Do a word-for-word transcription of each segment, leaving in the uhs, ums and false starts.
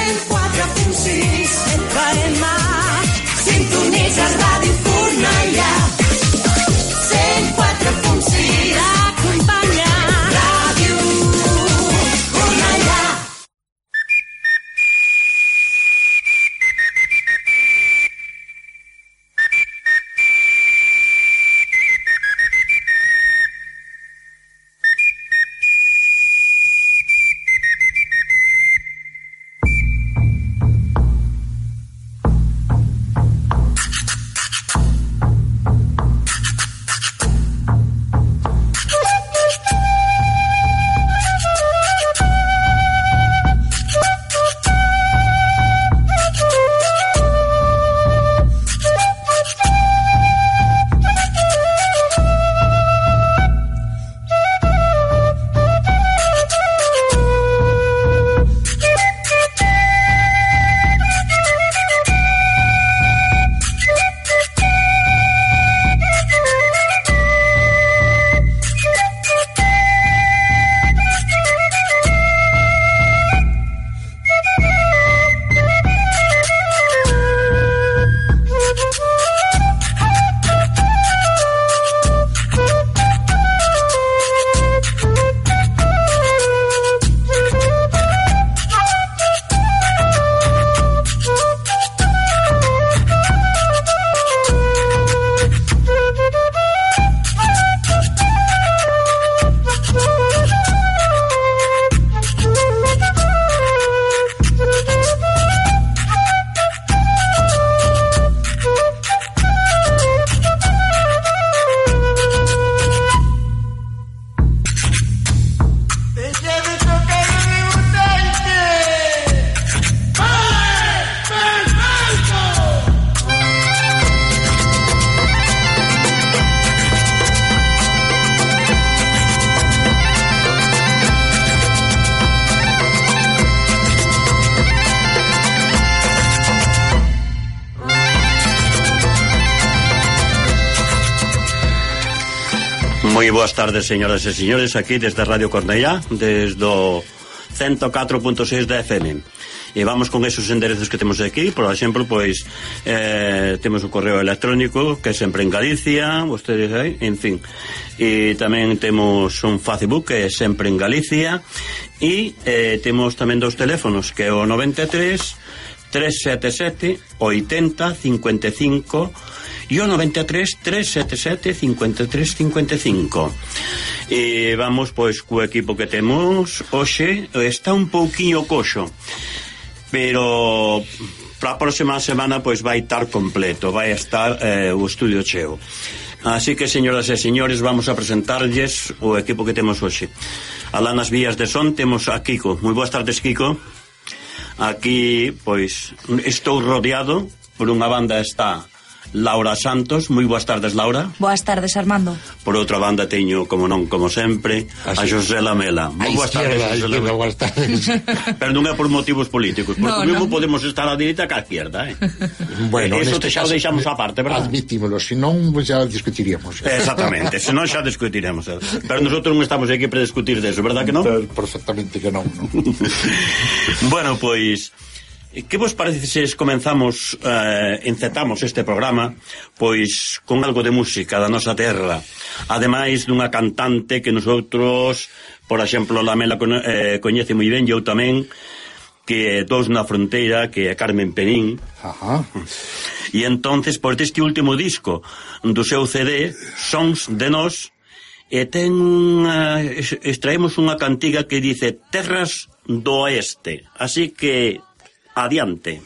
cent quatre punt sis F M. Sintonitzes Ràdio Cornellà. cent quatre punt sis T'acompanya Ràdio Cornellà. Moi boas tardes, señoras e señores, aquí desde Radio Cornellá, desde o ciento catro punto seis da F M. E vamos con esos enderezos que temos aquí. Por exemplo, pois eh, temos o correo electrónico, que é sempre en Galicia, vostedes aí, en fin. E tamén temos un Facebook, que é sempre en Galicia. E eh, temos tamén dos teléfonos, que é o noventa e tres, tres sete sete, oitenta, cincuenta e cinco e o noventa e tres, tres sete sete, cincuenta e tres, cincuenta e cinco. E vamos pois co equipo que temos hoxe. Está un pouquiño coxo, pero para a próxima semana pois vai estar completo, vai estar eh, o estudio cheo. Así que, señoras e señores, vamos a presentarlles o equipo que temos hoxe. Alá nas vías de son temos a Kiko. Moi boas tardes, Kiko. Aquí pois estou rodeado por unha banda. Está Laura Santos. Moi boas tardes, Laura. Boas tardes, Armando. Por outra banda teño, como non, como sempre, así, a José Lamela. Moi boas tardes, José Lamela. Boas tardes. Pero non é por motivos políticos, porque no, mesmo no. Podemos estar á direita que á izquierda, eh? Bueno, eso te xa o deixamos aparte, verdad? Admitímolo, senón xa discutiríamos. Exactamente, senón xa discutiremos. Pero nosotros non estamos aquí para discutir deso, verdad que non? Perfectamente que non, non. Bueno, pois que vos parece se comenzamos, eh, encetamos este programa pois con algo de música da nosa terra, ademais dunha cantante que nosotros, por exemplo, Lamela eh, coñece moi ben, e eu tamén, que dous na fronteira, que é Carmen Penín. Ajá. E entonces, por este último disco do seu C D, Sons de Nós, e ten unha, extraemos unha cantiga que dice Terras do Oeste, así que adiante.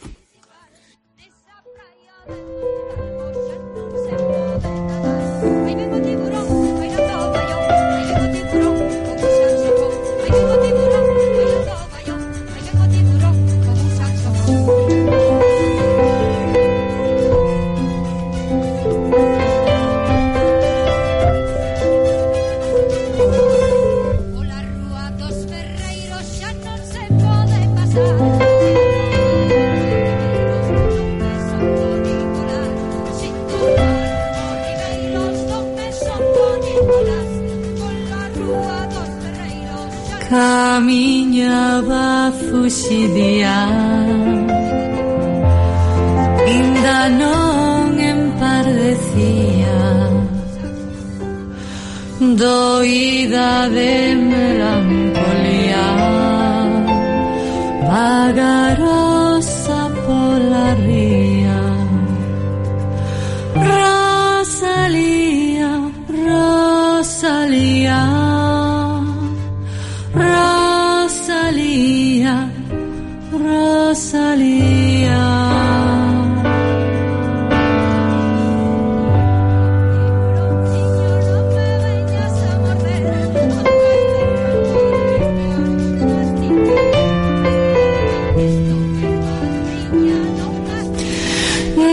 Pasar día ainda non empardecía, doída de melancolía, vagarosa pola ría. Rosalía, Rosalía, Rosalía, Rosalía.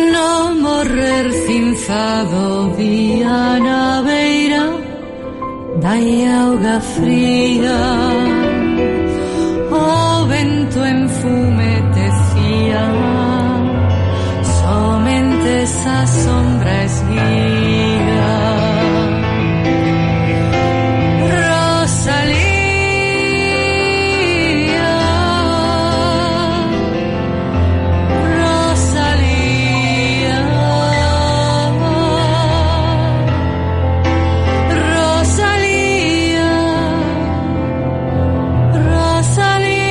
No morrer cinzado día na beira dai auga fría, o vento enfumetecía, somente esa sombra esguía. Rosalía, Rosalía, Rosalía, Rosalía.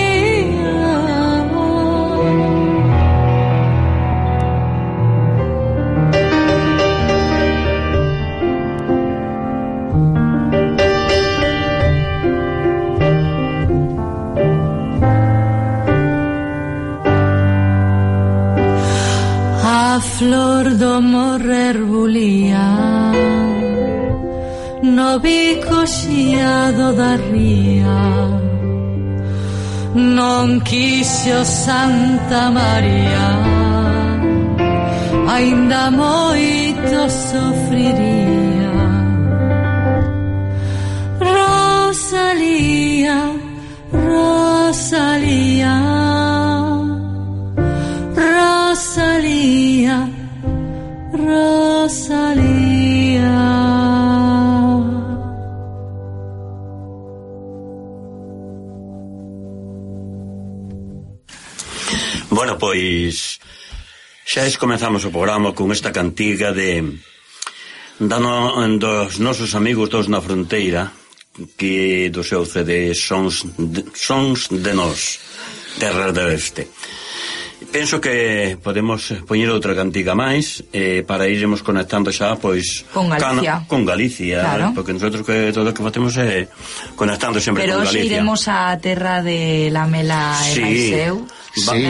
A flor do morrer bulía no bico xiado da ría, non quixo Santa María, aínda moito sofriría. Rosalía, Rosalía, Rosalía, Rosalía. Bueno, pois xa es comenzamos o programa con esta cantiga de dano, dos nosos amigos dos na fronteira, que do seu C D Sons de, Sons de Nós, Terra do Oeste. Penso que podemos poñer outra cantiga máis eh, para iremos conectando xa pois con Galicia, cana, con Galicia, claro. Porque nosotros que todo o que facemos é conectando sempre pero con Galicia. Pero iremos á terra de Lamela e sí. Maiseu. Sí,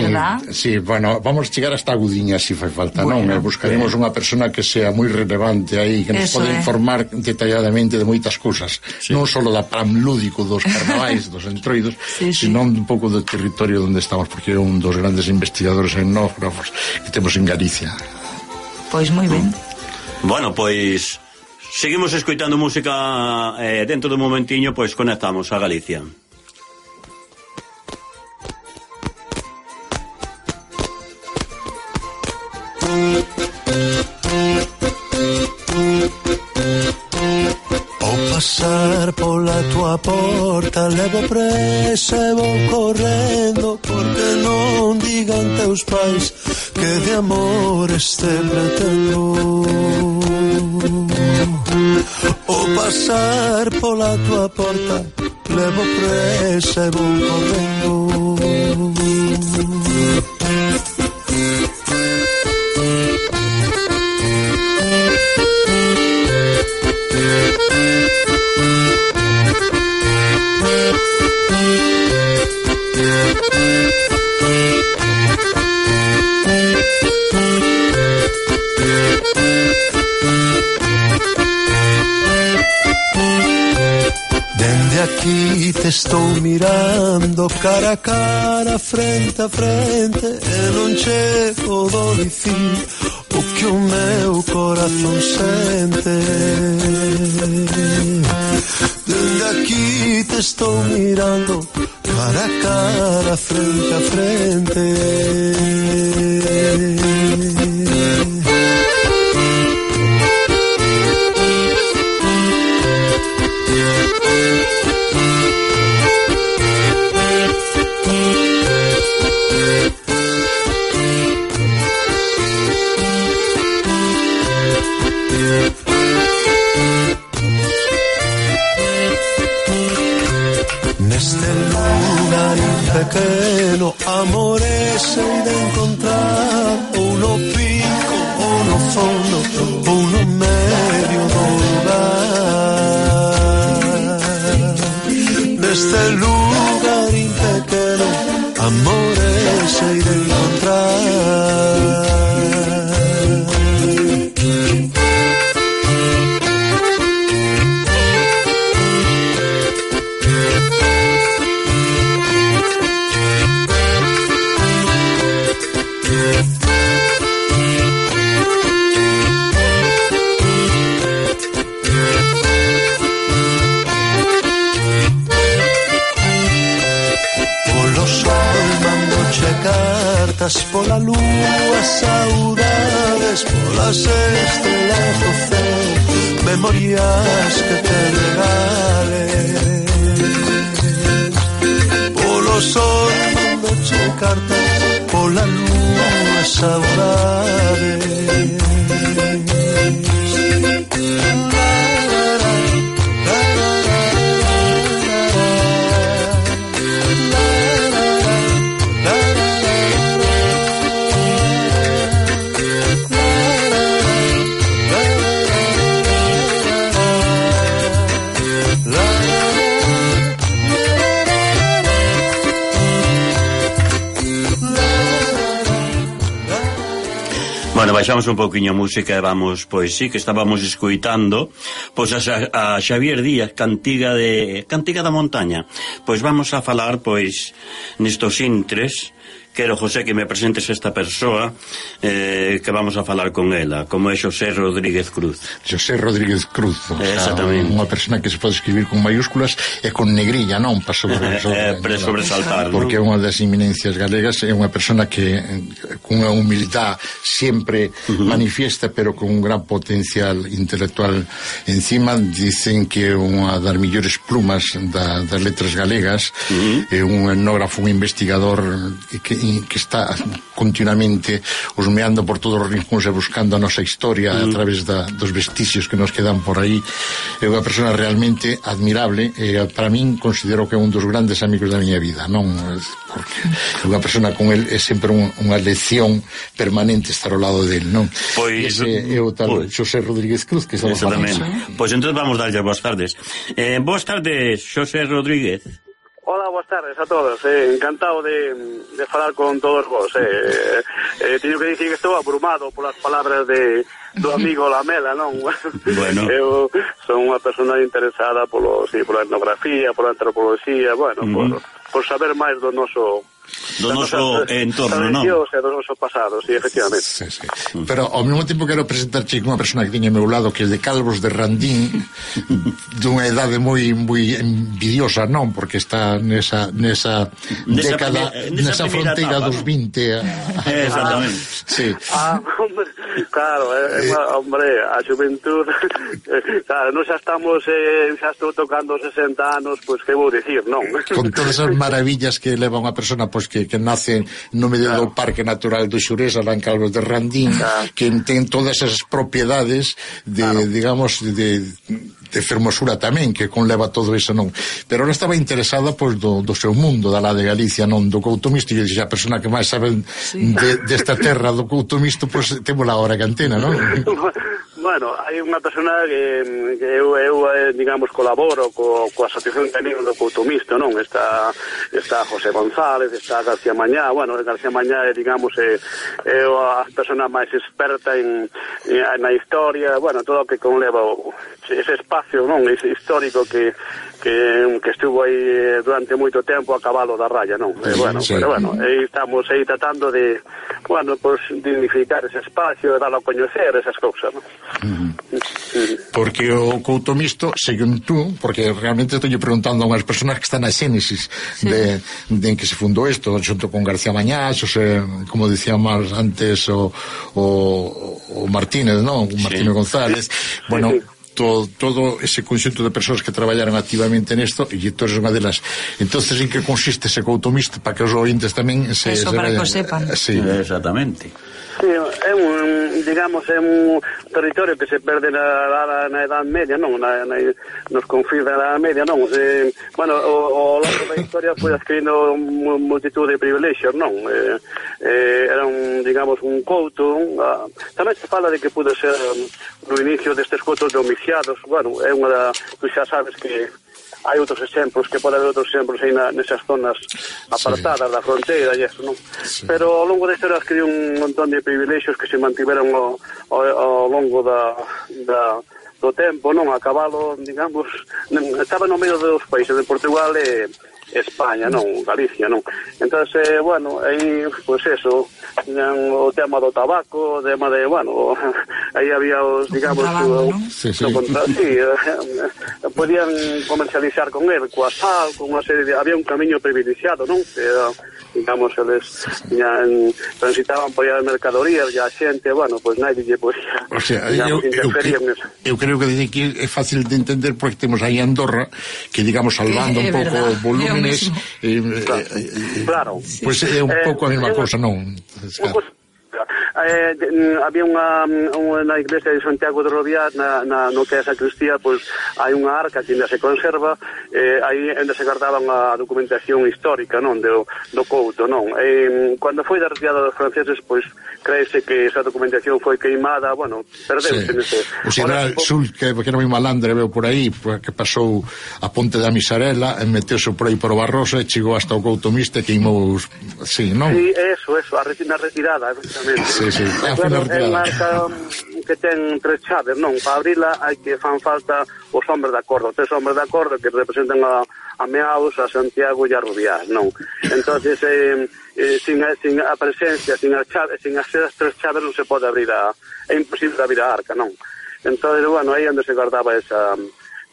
sí, bueno, vamos chegar hasta Agudiña se fai falta, bueno, non? E buscaremos eh. unha persona que sea moi relevante aí, que nos Eso pode é. informar detalladamente de moitas cousas, sí. Non só da pram lúdico dos carnavais, dos entroidos, sí, sí. Sino un pouco do territorio onde estamos, porque é un dos grandes investigadores etnógrafos que temos en Galicia. Pois moi ben. Bueno, pois seguimos escoitando música eh, dentro dun momentiño, pois conectamos a Galicia. Ao pasar pola tua porta levo presa e vou correndo, porque non digan teus pais que de amor este pretendo. Ao pasar pola tua porta levo presa e vou correndo. Dende aquí te estou mirando cara a cara, frente a frente, e non chego do dicir o que o meu corazón sente. Dende aquí te estou mirando cara a cara, frente a frente. pequeno, amores sei de encontrar ou no pico, ou no fondo, ou no medio do lugar. Neste lugarín pequeno, amores sei de encontrar. Cartas pola lúa, saudades polas estrelas do céu, memorias que te regale. Polo sol mandoche cartas pola lúa, saudades. Bueno, baixamos un pouquiño a música e vamos, pois sí, que estábamos escoitando pois a, a Xavier Díaz, Cantiga de Cantiga da Montaña. Pois vamos a falar, pois, nestos intres. Quero, José, que me presentes esta persoa eh, que vamos a falar con ela, como é Xosé Rodríguez Cruz. Xosé Rodríguez Cruz, o eh, sea, unha persona que se pode escribir con mayúsculas e con negrilla, non? Para sobre, sobre, eh, pre sobresaltar, porque é unha das eminencias galegas, é unha persona que con unha humildade sempre uh-huh. manifiesta, pero con un gran potencial intelectual encima. Dicen que é unha das millores plumas da, das letras galegas, uh-huh. é un etnógrafo, un investigador que que está continuamente husmeando por todos os rincóns e buscando a nosa historia mm. a través da, dos vestixios que nos quedan por aí. É unha persona realmente admirable e para min considero que é un dos grandes amigos da miña vida, non? Porque é unha persona con el é sempre un, unha lección permanente estar ao lado del, non? Pois ese é o tal pois, Xosé Rodríguez Cruz que estamos falando. Pois entón vamos darlle boas tardes. Eh, boas tardes, Xosé Rodríguez. Hola, boas tardes a todos, eh, encantado de, de falar con todos vos. Eh, eh, teño que dicir que estou abrumado polas palabras de do amigo Lamela, non? Bueno. Eu son unha persona interesada polo, sí, pola etnografía, pola antropoloxía, bueno, uh -huh. por, por saber máis do noso do noso entorno, non? E do noso pasado, sí, efectivamente. Sí, sí. Pero ao mesmo tempo quero presentarche unha persona que tiña ao meu lado, que é de Calvos de Randín, dunha edade moi moi envidiosa, non? Porque está nesa nesa, nesa década, primer, nesa, nesa fronteira etapa, dos vinte. A, a, exactamente. Sí. Ah, hombre, claro, eh, eh, hombre, a xuventud, claro, non xa estamos, eh, xa estou tocando sesenta anos, pois pues, que vou dicir, non? Con todas as maravillas que leva unha persona, pois que, que nace no medio claro. do Parque Natural do Xurés, alá en Calvos de Randín, claro. que ten todas esas propiedades de, claro. digamos, de, de fermosura tamén, que conleva todo iso, non? Pero ela estaba interesada, pois, do, do seu mundo, da lá de Galicia, non? Do Coutomisto, e a persona que máis sabe sí. de, desta terra do Coutomisto, pois, temos a hora cantena, non? Bueno, hai unha persona que, que eu, eu, digamos, colaboro co, coa Asociación de Amigos do Coutomisto, non? Está, está José González, está García Mañá, bueno, García Mañá é, digamos, é, é a persona máis experta en, en, na historia, bueno, todo o que conleva o, ese espacio, non? Ese histórico que, que, que estuvo aí durante moito tempo a cabalo da raya, non? Eh, bueno, sí. Pero bueno, aí estamos aí tratando de, bueno, pues, dignificar ese espacio e darlo a coñecer, esas cousas, non? Uh-huh. Uh-huh. Porque o Coutomisto, según tú, porque realmente estou preguntando a unhas persoas que están na xénesis sí. de, de en que se fundou isto, xunto con García Mañá, xose, como decíamos antes o, o, o Martínez, non? O Martínez sí. González. Bueno, todo, todo ese conxunto de persoas que traballaron activamente nesto, e entón é unha delas. Entonces, en que consiste ese couto mixto, para que os ointes tamén se... Eso, se para vayan, que o sepan. Sí. Exactamente. Sí, é un, digamos, é un territorio que se perde na, na, na Edad Media, non? Na, na, nos confins da Edad Media, non? Se, bueno, o, o longo da historia foi adquirindo multitud de privilexios, non? Eh, eh, era un, digamos, un couto. Uh, tamén se fala de que pude ser um, no inicio destes coutos domiciados. Bueno, é unha da... Tu xa sabes que hai outros exemplos, que pode haber outros exemplos aí na, nesas zonas apartadas, sí, da fronteira e eso, non? Sí. Pero ao longo da historia adquiriu un montón de privilexios que se mantiveron ao, ao, ao longo da, da, do tempo, non? A cabalo, digamos, estaba no medio dos países de Portugal e España, non? Galicia, non? Entón, eh, bueno, aí, pois pues eso, o tema do tabaco, o tema de, bueno, aí había os, digamos, o, ¿no? Sí, sí. Contra, sí, eh, podían comercializar con él, coa sal, con unha serie de... Había un camiño privilexiado, non? Era, digamos, eles tiñan, transitaban por aí as mercadorías e a xente, bueno, pois pues, nadie lle podía, o sea, digamos, eu, interferir eu, en eso. Eu creo que que é fácil de entender porque temos aí Andorra, que, digamos, salvando eh, un pouco os volúmenes, eh, claro, eh, claro. Pois pues é un pouco a mesma eh, cousa, non? Claro. Eh, de, había unha, unha na iglesia de Santiago de Roviá, na, na, no que é a sacristía, pois hai unha arca que ainda se conserva, eh, aí ainda se guardaban a documentación histórica, non, do, do couto, non. Eh, cando foi da retirada dos franceses, pois creese que esa documentación foi queimada, bueno, perdeuse sí. nese. O xeneral Sul, que, que era moi malandre, veo por aí, que pasou a ponte da Misarela, e meteuse por aí por o Barroso e chegou hasta o couto miste e queimou, sí, non? Sí, eso, eso, a retirada, efectivamente. Sí, sí, é claro, é unha arca que ten tres chaves, non? Para abrila hai que fan falta os hombres de acordo, tres hombres de acordo que representan a, a Meaus, a Santiago e a Rubiá, non? Entonces, eh, eh, sin, a, sin a presencia, sin as chaves, sin as tres chaves non se pode abrir a... É imposible abrir a arca, non? Entonces, bueno, aí onde se guardaba esa...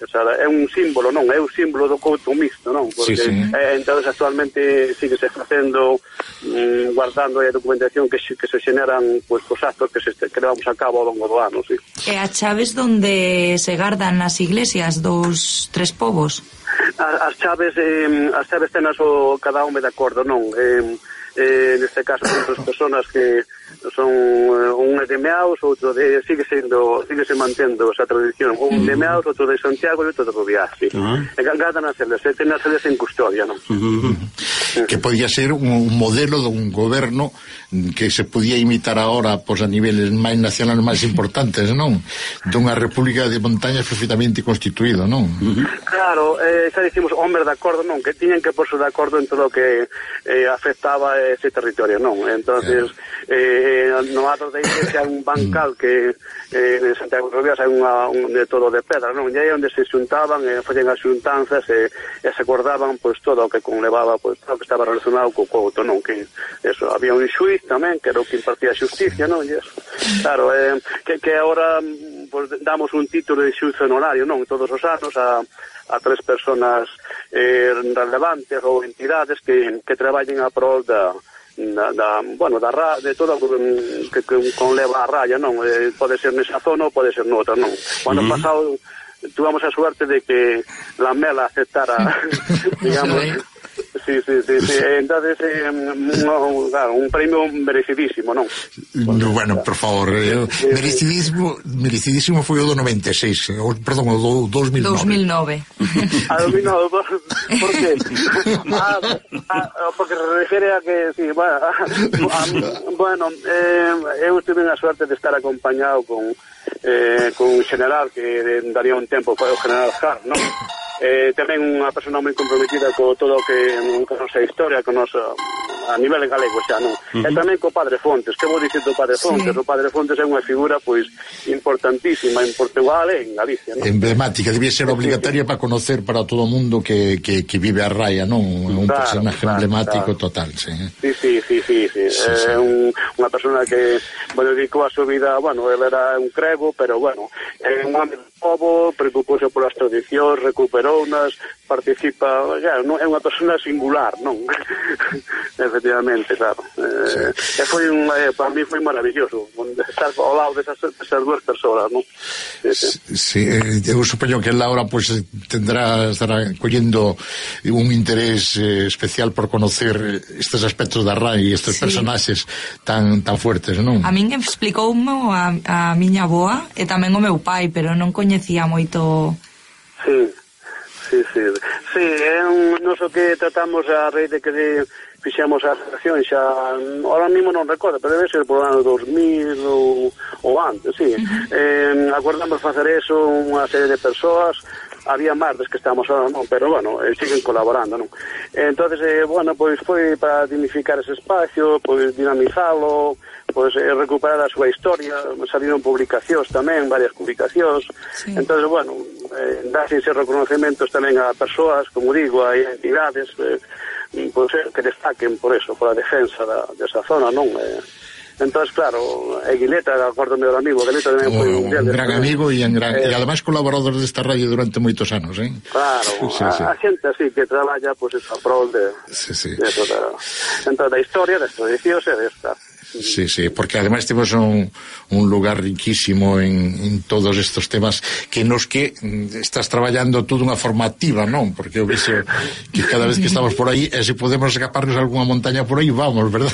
O sea, é un símbolo, non? É un símbolo do couto mixto, non? Porque sí, sí. Eh, entonces actualmente sigue se facendo mm, guardando a documentación que, que se generan pues, os actos que, se, que levamos a cabo ao longo do ano, sí. E a chaves donde se gardan as iglesias dos tres povos? As, as chaves eh, as chaves tenas o cada home de acordo, non? Eh, eh, neste caso son tres personas que son uh, un de Meaus, outro de sigue sendo, sigue se mantendo esa tradición, un de Meaus, outro de Santiago e outro de Rubiá, sí. Uh-huh. E gardan as eles, e ten as eles en custodia, non? Uh-huh. Uh-huh. Que podía ser un, un modelo dun goberno que se podía imitar ahora pois, a niveles máis nacionales máis importantes, non? Dunha república de montañas perfectamente constituído, non? Uh-huh. Claro, eh, xa dicimos hombres de acordo, non? Que tiñen que porse de acordo en todo o que eh, afectaba ese territorio, non? Entonces, eh, no ato de iglesia hai un bancal que eh, en Santiago de Rubiá hai unha, un, de todo de pedra, non? E aí onde se xuntaban, eh, facían as xuntanzas e, e se acordaban, pois, todo o que conlevaba, pois, todo o que estaba relacionado co couto, non? Que, eso, había un xuiz tamén, que era o que impartía a xusticia, non? E eso, claro, eh, que, que agora, pois, damos un título de xuiz honorario, non? Todos os anos a a tres personas eh, relevantes ou entidades que, que traballen a prol da, da, da bueno, da ra, de todo que, que conleva a raya, non? Eh, pode ser nesa zona ou pode ser noutra, non? Cuando uh-huh. pasado tuvamos a suerte de que la Mela aceptara digamos sí, sí, sí, sí. Entonces eh, no, claro, un premio merecidísimo, non? No, bueno, por favor, eh, merecidísimo, merecidísimo foi o do noventa e seis, o, perdón, o do dos mil nove. dos mil nove. A dos mil nove, por que? Ah, ah, porque se refere a que, sí, bueno, a, bueno eh, eu tive a suerte de estar acompañado con eh, con un general que daría un tempo, foi o general Jar, non? Eh, tamén unha persona moi comprometida co todo o que con a nosa historia, con nosa, a nivel galego xa, non? Uh-huh. E tamén co Padre Fontes, que vou dicir do Padre Fontes? Sí. O Padre Fontes é unha figura pois importantísima en Portugal e en Galicia, non? Emblemática, debía ser obligatoria para conocer para todo o mundo que, que, que vive a raya, non? Un claro, personaje claro, emblemático claro. Total, sí. Sí, sí, sí, sí, sí. sí, sí. É un, unha persona que, bueno, dedicou a súa vida, bueno, ele era un crego, pero, bueno, é un home do povo, preocupouse polas tradicións, recuperounas, participa, claro, non é unha persona singular, non? Efectivamente, claro. Eh, sí. E foi un, eh, para mí foi maravilloso estar ao lado desas, desas dúas persoas, non? Sí, sí. Sí, eh, eu supoño que Laura pues tendrá, estará collendo un interés eh, especial por conocer estes aspectos da R A I e estes sí. personaxes tan tan fuertes, non? A min explicoume a, a miña avoa e tamén o meu pai, pero non coñecía moito. Sí. Sí, sí, sí, é un noso que tratamos a raíz de que de, fixemos a asociación xa, ahora mismo non recordo, pero debe ser por o ano dos mil ou, ou antes, sí. Uh-huh. Eh, acordamos facer eso unha serie de persoas, había máis des que estamos ahora, non, pero bueno, eh, siguen colaborando, non. Entonces, eh, bueno, pois foi para dignificar ese espacio, pois dinamizalo, pois eh, recuperar a súa historia, saliron publicacións tamén, varias publicacións, sí. Entonces, bueno, eh, darse ese reconocimientos tamén a persoas, como digo, a entidades, eh, pois, que destaquen por eso, por a defensa da, desa zona, non? Eh, entonces, claro, e Guileta, acordo meu amigo, Guileta tamén foi un, un gran amigo e, en gran, eh, e ademais colaborador desta radio durante moitos anos, eh? Claro, sí, a, sí. a xente así que traballa, pois, pues, a prol de, sí, sí. de toda, dentro da historia, das tradicións e desta. Sí, sí, porque además temos un, un lugar riquísimo en, en todos estos temas que nos que estás traballando toda unha forma activa, non? Porque eu vexo que cada vez que estamos por aí, e se podemos escaparnos a algunha montaña por aí, vamos, verdad?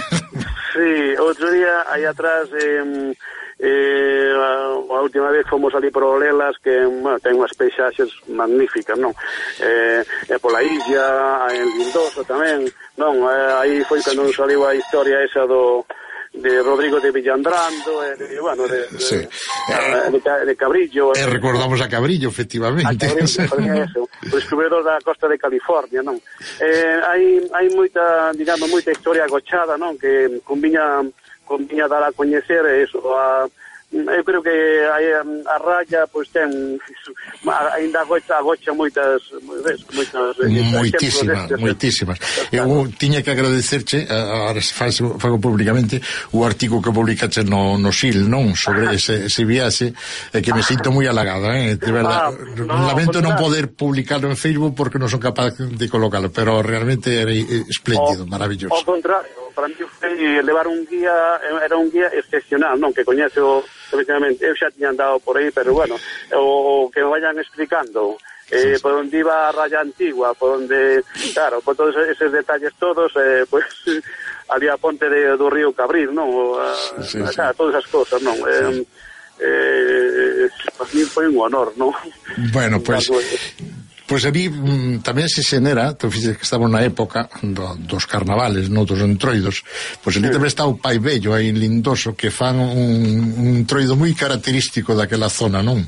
Sí, outro día, aí atrás, eh, eh, a, a última vez fomos ali por Olelas, que, bueno, ten unhas paisaxes magníficas, non? Eh, e pola illa, en Lindoso tamén, non? Eh, aí foi cando nos saliu a historia esa do de Rodrigo de Villandrando, e de, bueno, de, de, sí. de, de, de Cabrillo. E recordamos a Cabrillo, efectivamente. A Cabrillo, eso, o descubridor da costa de California, non? Eh, hai, hai moita, digamos, moita historia agochada, non? Que conviña, conviña dar a coñecer eso, a... Eu creo que a, a raya pois ten ainda agocha, agocha moitas moitas moitísimas, moitísimas. Eu tiña que agradecerche, agora fago públicamente, o artigo que publicaste no, no S I L, non? Sobre ese, ese viaxe, e que me sinto moi halagado, eh? De verdad, ah, no, lamento non poder publicarlo en Facebook porque non son capaz de colocarlo, pero realmente era espléndido, maravilloso. Ao contrario, para mí foi levar un guía, era un guía excepcional, non? Que coñece o efectivamente, eu xa tiña andado por aí, pero bueno, o que me vayan explicando eh, sí, por onde iba a raya antigua, por onde, claro, por todos esos detalles todos, eh, pues había a ponte de, do río Cabril, non? O, a, sí, sí, claro, todas esas cosas, non? Sí. Eh, eh, para mí foi un honor, non? Bueno, pues... Pois a mí mm, tamén se xenera, tu fixes que estamos na época do, dos carnavales, non dos entroidos, pois ali tamén está o Pai Vello aí en Lindoso, que fan un, un entroido moi característico daquela zona, non?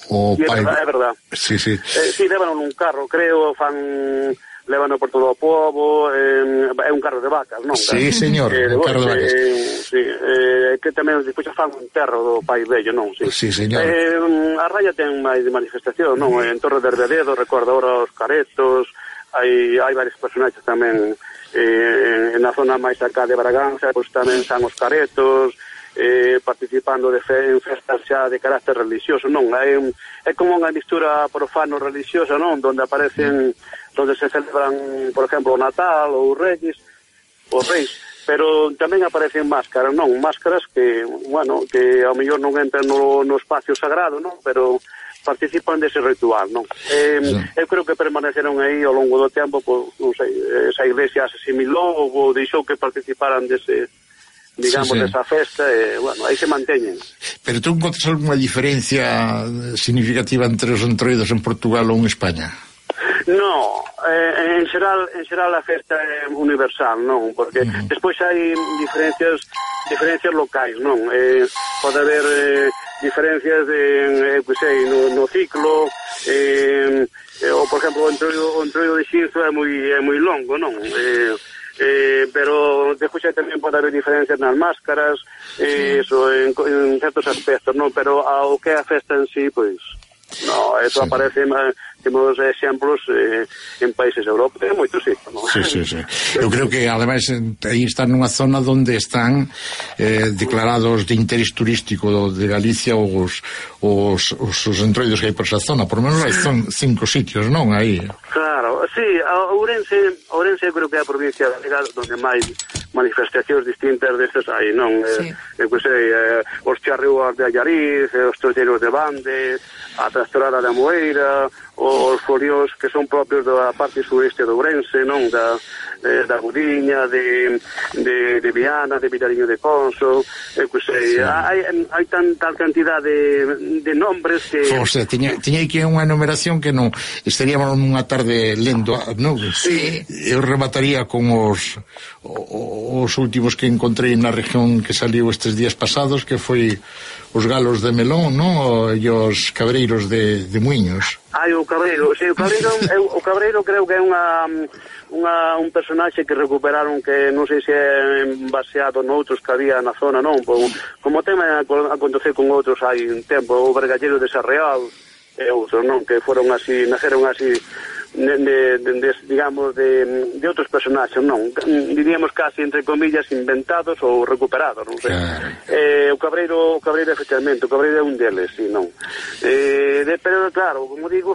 O é Pai... verdad, é verdad. Sí, sí. Eh, sí, levan un carro, creo, fan... Lévano por todo o pobo, eh, é un carro de vacas, non? Sí, señor, eh, un carro de vacas. Eh, sí, eh, que tamén despois fan un terro do Pai Vello, non? Sí, sí, señor. Eh, a raya ten máis de manifestación, non? En Torre de Hervededo, recordo agora os caretos, hai, hai varios personaxes tamén eh, en a zona máis acá de Braganza, pois tamén están os caretos, eh, participando de fe, en festas xa de carácter religioso, non? É, é como unha mistura profano-religiosa, non? Donde aparecen... donde se celebran, por exemplo, o Natal ou os Reyes, os Reis, pero tamén aparecen máscaras, non? Máscaras que, bueno, que ao mellor non entran no, no espacio sagrado, non? Pero participan dese ritual, non? Eh, sí. Eu creo que permaneceron aí ao longo do tempo, pues, non sei, esa iglesia se asimilou ou deixou que participaran dese, digamos, sí, sí, desa festa, e, bueno, aí se manteñen. Pero tú encontras algunha diferencia significativa entre os entroidos en Portugal ou en España? No, eh, en xeral en xeral a festa é universal, non? Porque uh-huh. despois hai diferencias diferencias locais, non? Eh, pode haber eh, diferencias de, eh, pues, sei, no, no ciclo, eh, eh, ou, por exemplo, o entroido, o entroido de Xinzo é moi, é moi longo, non? Eh, eh, pero despois tamén pode haber diferencias nas máscaras, eh, eso, en, en certos aspectos, non? Pero ao que é a festa en sí, pois... No, eso sí, aparece temos exemplos eh, en países europeos, moitos sí, ¿no? Sí, sí, sí. Eu creo que ademais aí están nunha zona onde están eh, declarados de interés turístico de Galicia os, os, os, os entroidos que hai por esa zona, por lo menos hai son cinco sitios, non? Aí. Claro, sí, a Ourense, Ourense creo que é a provincia galega onde máis manifestacións distintas destas hai, non? Sí. Eh, que sei, eh, os charrúas de Allariz, eh, os torteiros de Bande, a trastorada da Moeira, os folións que son propios da parte sureste do Ourense, non? Da, eh, da Gudiña, de, de, de Viana, de Vilariño de Conso, eh, que sei, sí. hai, hai tan tal cantidad de, de nombres que... O sea, tiña, tiña aquí unha numeración que non estaríamos nunha tarde lendo, non? Sí. Eu remataría con os os últimos que encontrei na región que saliu estes días pasados, que foi os galos de melón, non? E os cabreiros de, de muiños. Ai, o cabreiro, sí, o cabreiro, eu, o cabreiro creo que é unha, unha un personaxe que recuperaron que non sei se é baseado noutros que había na zona, non? Como tema acontecer con outros hai un tempo, o Vergallero de Sarreal e outros, non? Que foron así, naceron así de, de, de, de, digamos de, de outros personaxes, non? Diríamos casi entre comillas inventados ou recuperados, non sei. Claro. Eh, o cabreiro, o cabreiro efectivamente, o cabreiro é un deles, sí, non. Eh, de, pero claro, como digo,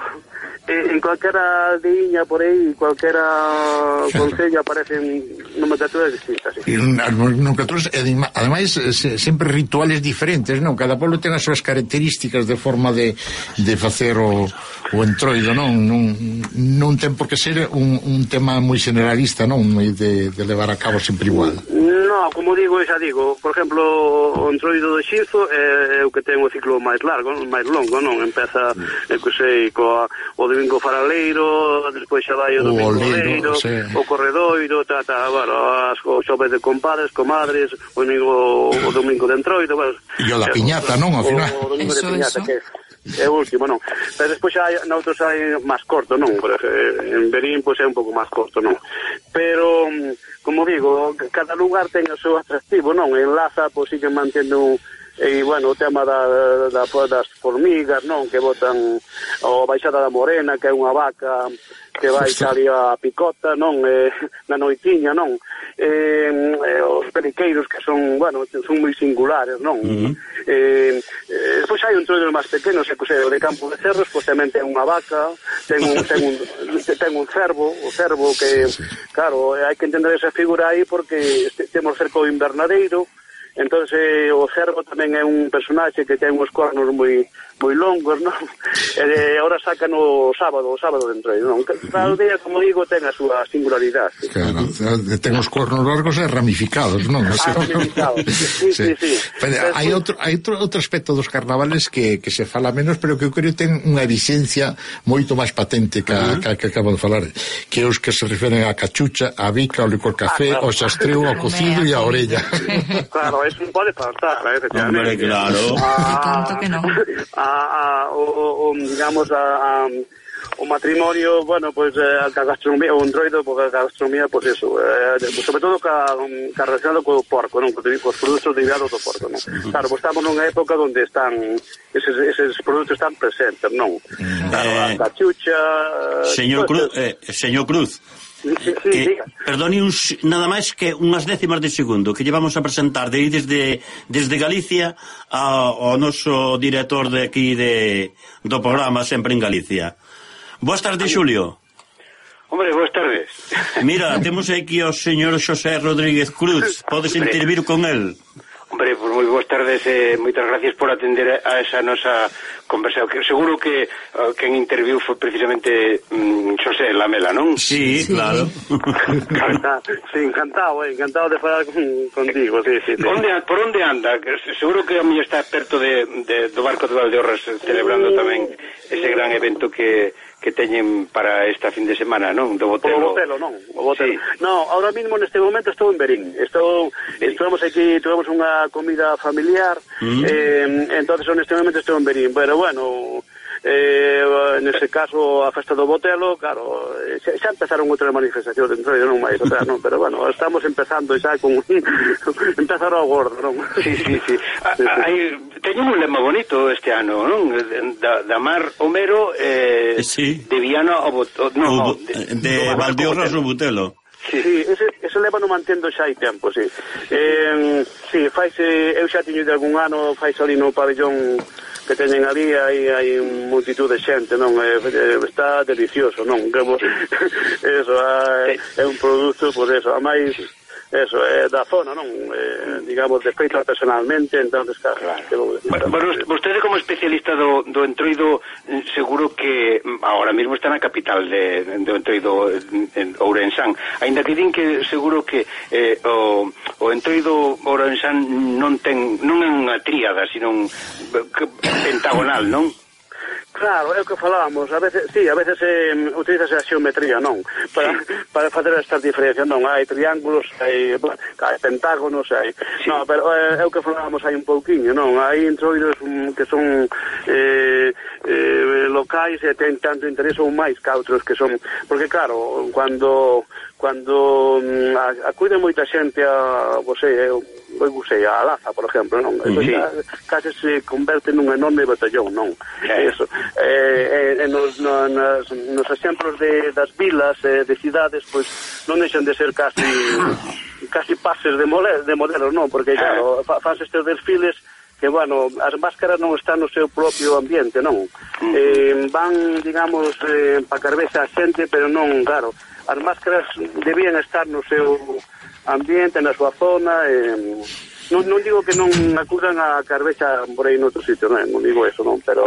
eh, en cualquera aldeíña por aí, cualquera concello aparecen nomenclaturas distintas, sí. Nomenclaturas, ademais, se, sempre rituales diferentes, non? Cada pueblo ten as súas características de forma de, de facer o, o entroido, non? Non non ten por que ser un, un tema moi generalista, non? De, de levar a cabo sempre igual. No, como digo, xa digo, por exemplo, o entroido do Xinzo é, é o que ten o ciclo máis largo, máis longo, non? Empeza, é que sei, coa, o domingo faraleiro, despois xa vai o domingo leiro, sí. O corredoiro, ta, ta, bueno, as, o xoves de compadres, comadres, o domingo, o domingo de entroido, bueno. E o da piñata, non? Ao final. O, o domingo eso, de piñata, eso. que é o último, non? Pero despois hai, noutros hai máis corto, non? En Verín, pois, é un pouco máis corto, non? Pero, como digo, cada lugar ten o seu atractivo, non? Enlaza, pois, sigue mantendo e, bueno, o tema da, da, das formigas, non? Que botan o Baixada da Morena, que é unha vaca que vai salir a picota, non? Eh, na noitiña, non? Eh, eh, os periqueiros que son, bueno, son moi singulares, non? Uh-huh. Eh, eh, pois hai un troido máis pequeno, se cose, o de Campo de Cerros, pois tamén ten unha vaca, ten un, ten un, ten un cervo, o cervo que, claro, hai que entender esa figura aí porque temos cerca o invernadeiro. Entonces eh, o cervo tamén é un personaxe que ten uns cornos moi moi longos, non? E agora sacan o sábado, o sábado de entroido, non? Cada aldea, como digo, ten a súa singularidade. Claro, ten os cornos largos e ramificados, non? Ah, ramificados, sí, sí, sí. sí. Pero hai outro, hai outro, outro aspecto dos carnavales que, que se fala menos, pero que eu creo ten unha visencia moito máis patente que, uh-huh. que, que acabo de falar, que os que se referen a cachucha, a bica, ao licor café, ah, claro. Ao xastreo, ao cocido e á orella. Claro, eso non pode faltar, eh, Hombre, efectivamente. claro. Ah, tanto que non. A, a, o, o, digamos, a, a, o matrimonio, bueno, pues, eh, a gastronomía, o entroido, porque a gastronomía, pues eso, eh, sobre todo ca, ca relacionado co porco, non? Co os produtos derivados do porco, non? Claro, pues estamos nunha época onde están, eses, eses produtos están presentes, non? Claro, eh, a cachucha... Señor Cruz, eh, señor Cruz, Sí, sí, que, perdone un, nada máis que unhas décimas de segundo que llevamos a presentar de aí desde, desde Galicia ao noso director de aquí de, do programa Sempre en Galicia. Boas tardes, Xulio. Hombre, boas tardes. Mira, temos aquí ao señor Xosé Rodríguez Cruz. Podes intervir con el. Hombre, pues moi boas tardes e eh, moitas gracias por atender a esa nosa conversa. Que seguro que uh, quen interviu foi precisamente um, Xosé Lamela, non? Sí, sí. Claro. Sí, encantado, eh, encantado de falar con, contigo, sí, sí, sí. Onde, por onde anda? Seguro que a mí está perto de, de, do barco de Valdeorras celebrando tamén ese gran evento que que teñen para esta fin de semana, non? Do Botelo. O Botelo, non? O Botelo. Sí. No, ahora mismo neste momento estou en Verín. Estou, estuvemos aquí, tuvemos unha comida familiar, mm. eh, entonces neste momento estou en Verín. Pero bueno, eh, nese caso a festa do Botelo, claro, xa, xa empezaron outras manifestacións dentro de non máis, o sea, non, pero bueno, estamos empezando xa con empezaron ao gordo, non? Sí, sí, sí. A, sí, sí. Hai, teñen un lema bonito este ano, non? Da, da Mar Homero eh, sí. de Viana ao Botelo, no, o, de, de Valdeorras ao Botelo. Sí, sí, ese, ese leva no mantendo xa hai tempo, sí. Eh, sí, faise, eu xa tiño de algún ano, faise ali no pabellón que teñen ali, hai, hai multitud de xente, non? Eh, está delicioso, non? Que, eso, é, é un produto, pois pues eso, a máis... Eso, é eh, da zona, non? Eh, digamos, de feito personalmente, entonces, claro. claro. Bueno, bueno, vostede como especialista do, do entroido, seguro que ahora mismo está na capital de, do entroido en Ourensán, ainda que din que seguro que eh, o, o entroido Ourensán non ten, non é unha tríada, sino un pentagonal, non? Claro, é o que falábamos, a veces, sí, a veces eh, utilizase a xeometría, non? Para, sí. para facer estas diferencias, non? Hai triángulos, hai, hai pentágonos, hai... Sí. Non, pero é, é o que falábamos hai un pouquiño, non? Hai entroidos um, que son eh, eh, locais e ten tanto interés ou máis que outros que son... Porque, claro, cando... Cando um, acude moita xente a, você, eu, eu sei, a Laza, por exemplo, non? Eso sí. Case se converte nun enorme batallón, non? Sí. Eso. Eh, eh, nos, no, nas, nos exemplos de, das vilas, eh, de cidades, pois non deixan de ser casi casi pases de, mole, de modelos, non? Porque, claro, fa, faz estes desfiles que, bueno, as máscaras non están no seu propio ambiente, non? Eh, van, digamos, eh, pa carbexa a xente, pero non, claro, as máscaras debían estar no seu ambiente, na súa zona, eh, non, non digo que non acudan a carbexa por aí noutro sitio, non, non digo eso, non, pero...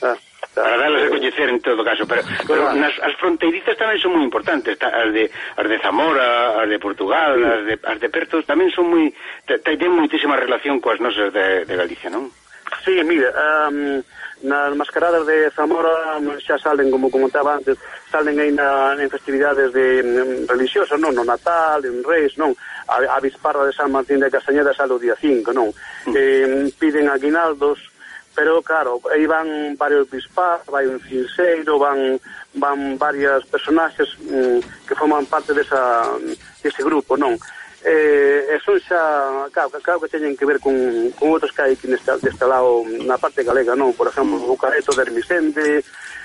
Ah, para darlas a coñecer en todo caso, pero, pero nas, as fronteirizas tamén son moi importantes, as de, as de Zamora, as de Portugal, sí. as, de, as de Pertos tamén son moi, ten moitísima relación coas nosas de, de Galicia, non? Sí, mira, um, nas mascaradas de Zamora xa salen, como comentaba antes, salen aí na, en festividades de um, religiosas, non? No Natal, en Reis, non? A, a Bisparra de San Martín de Castañeda sale o día cinco, non? Mm. Eh, piden aguinaldos, pero claro, aí van varios bispas, vai un cinseiro, van van varias personaxes um, que forman parte desa, dese grupo, non? Eh, e son xa, claro, claro que teñen que ver con, con outros que hai aquí neste, deste lado, na parte galega, non? Por exemplo, o Careto de Hermisende,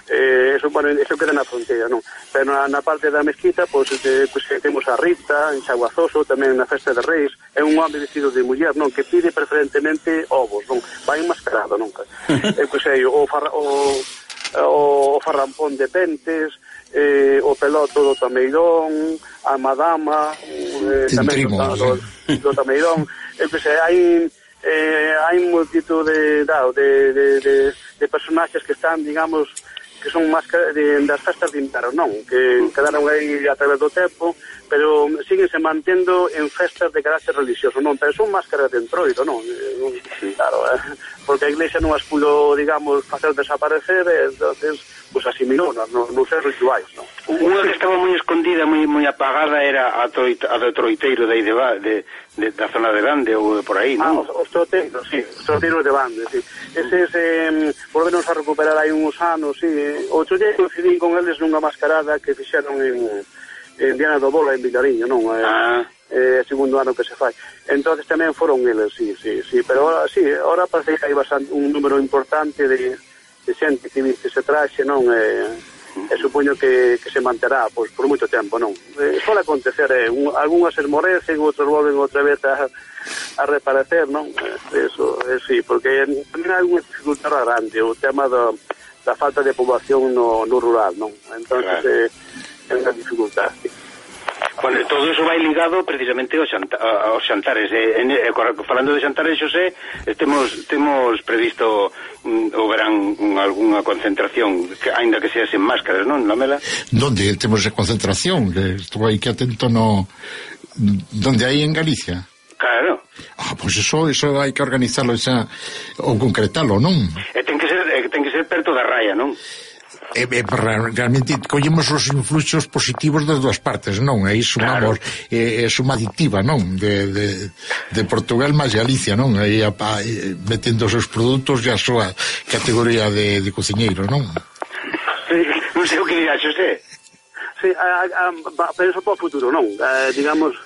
eh, eso, bueno, eso queda na fronteira, non? Pero na, na parte da mezquita, pois, pues, pues, temos a Rita, en Xaguazoso, tamén na festa de Reis, é un home vestido de muller, non? Que pide preferentemente ovos, non? Vai enmascarado, non? eh, pues, eh, o, farra, o, o farrampón de Pentes, eh, o peloto do Tameirón, a madama, eh, tamén do, do, do Tameirón, eh, pues, eh, hai eh, hai multitud de, de, de, de, de personaxes que están, digamos, que son máscaras de, das festas de inverno, non? Que quedaron aí a través do tempo, pero síguense mantendo en festas de carácter religioso, non? Pero son máscaras de entroido, non? Claro, eh, porque a Iglesia non as pudo, digamos, facer desaparecer, e, entonces, pues asimilou nos no, no seus rituais, non? Unha que estaba moi escondida, moi moi apagada, era a, troita, a do troiteiro de aí de, de, de, da zona de Bande ou por aí, non? Ah, os, os troiteiros, sí, os troiteiros de Bande, sí. Eses, eh, volvenos a recuperar hai uns anos, sí. Outro día coincidín con eles nunha mascarada que fixeron en, en Diana do Bola, en Villariño, non? Eh, ah. Eh, segundo ano que se fai. Entonces tamén foron eles, sí, sí, sí. Pero ahora, sí, ahora parece que hai bastante, un número importante de, de xente que viste ese traxe, non? Eh, e supoño que, que se manterá pois, por moito tempo, non? Eh, Sole acontecer, eh, un, algunhas esmorecen, outros volven outra vez a, a reparecer, non? Eh, eso, eh, sí, porque tamén hai unha dificultad grande, o tema do, da falta de poboación no, no rural, non? Entonces, claro. eh, é unha dificultad, sí. Bueno, todo eso vai ligado precisamente aos, xanta, aos xantares. Eh, en, eh, falando de xantares, Xosé, eh, temos, temos previsto mm, o verán un, algunha concentración, que, ainda que sea sen máscaras, non, Lamela? Donde temos a concentración? Que estou aí que atento no... Donde hai en Galicia? Claro. Ah, pois pues eso, eso hai que organizarlo xa, ou concretalo, non? E ten que ser, eh, ten que ser perto da raya, non? E, e realmente collemos os influxos positivos das dúas partes, non? E iso, vamos, é, é suma aditiva, non? De, de, de Portugal máis Galicia, non? Aí a, a, metendo os seus produtos e a súa categoría de, de cociñeiro, non? Sí, non sei o que dirá, Xosé. Sí, a, a, a, penso para o futuro, non? Eh, digamos,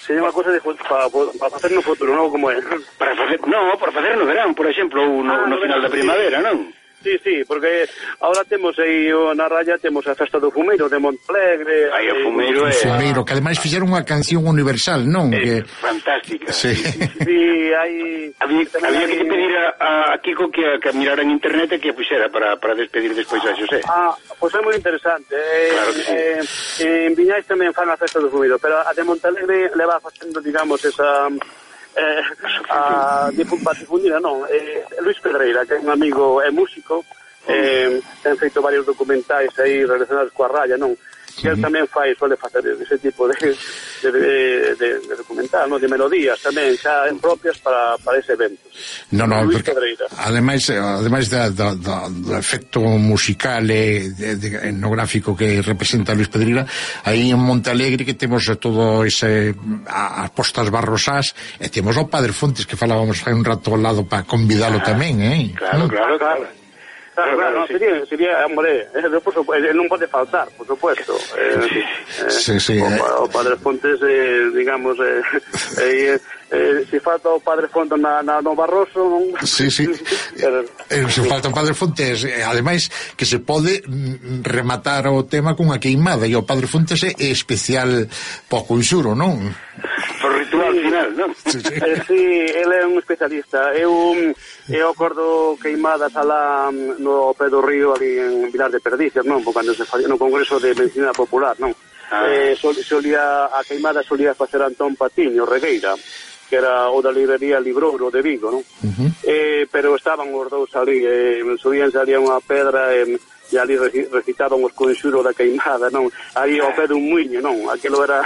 sería unha cosa de para pa facer no futuro, non? Como é? Para facer, no, para facer no verán, por exemplo, ou no, ah, no, no final da primavera, non? Sí, sí, porque ahora temos aí na raya temos a festa do fumeiro de Montalegre. Aí o fumeiro é... O fumeiro, que ademais fixeron unha canción universal, non? É que... fantástica. Sí. Sí, hai... Había, había que pedir a, a Kiko que, que mirara en internet e que a puxera para, para despedir despois a Xosé. Ah, pois pues é moi interesante. Eh, claro que sí. Eh, en Viñais tamén fan a festa do fumeiro, pero a de Montalegre leva facendo, digamos, esa... Eh, a difundida, non, eh, Luis Pedreira, que é un amigo, é músico, eh, ten feito varios documentais aí relacionados coa raya, non? E el tamén fai, suele facer ese tipo de, de, de, de, de documental, non? De melodías tamén, xa propias para, para ese evento. No, no, porque ademais, ademais da, da, da, do efecto musical e de, de, etnográfico que representa Luis Pedreira, aí en Montalegre que temos todo ese as postas barrosás e temos o Padre Fontes que falábamos hai un rato ao lado para convidalo ah, tamén, eh? Claro, claro, claro. Claro, claro, no, sería, sería, hombre, eh, por supuesto, non pode faltar, por supuesto. Eh, eh, sí, sí, o, eh. o Padre Fontes, eh, digamos, eh, eh, eh, se falta o Padre Fontes na, na, no Barroso, non? Sí, sí. Pero, eh, se falta o Padre Fontes, eh, ademais, que se pode rematar o tema cunha queimada, e o Padre Fontes é especial pouco insuro, non? Por ritual final, non? Sí, sí. Eh, sí, ele é un especialista. Eu, eu acordo queimadas alá no pé do río, ali en Vilar de Perdizas, non? Cando se facía no Congreso de Medicina Popular, non? Ah. Eh, sol, solía, a queimada solía facer Antón Patiño Regueira, que era o da librería Librouro de Vigo, non? Uh-huh. Eh, pero estaban os dous ali, eh, subían, salía unha pedra, eh, e ali recitaban os conxuros da queimada, non? Aí ao pé dun muiño, non? Aquilo era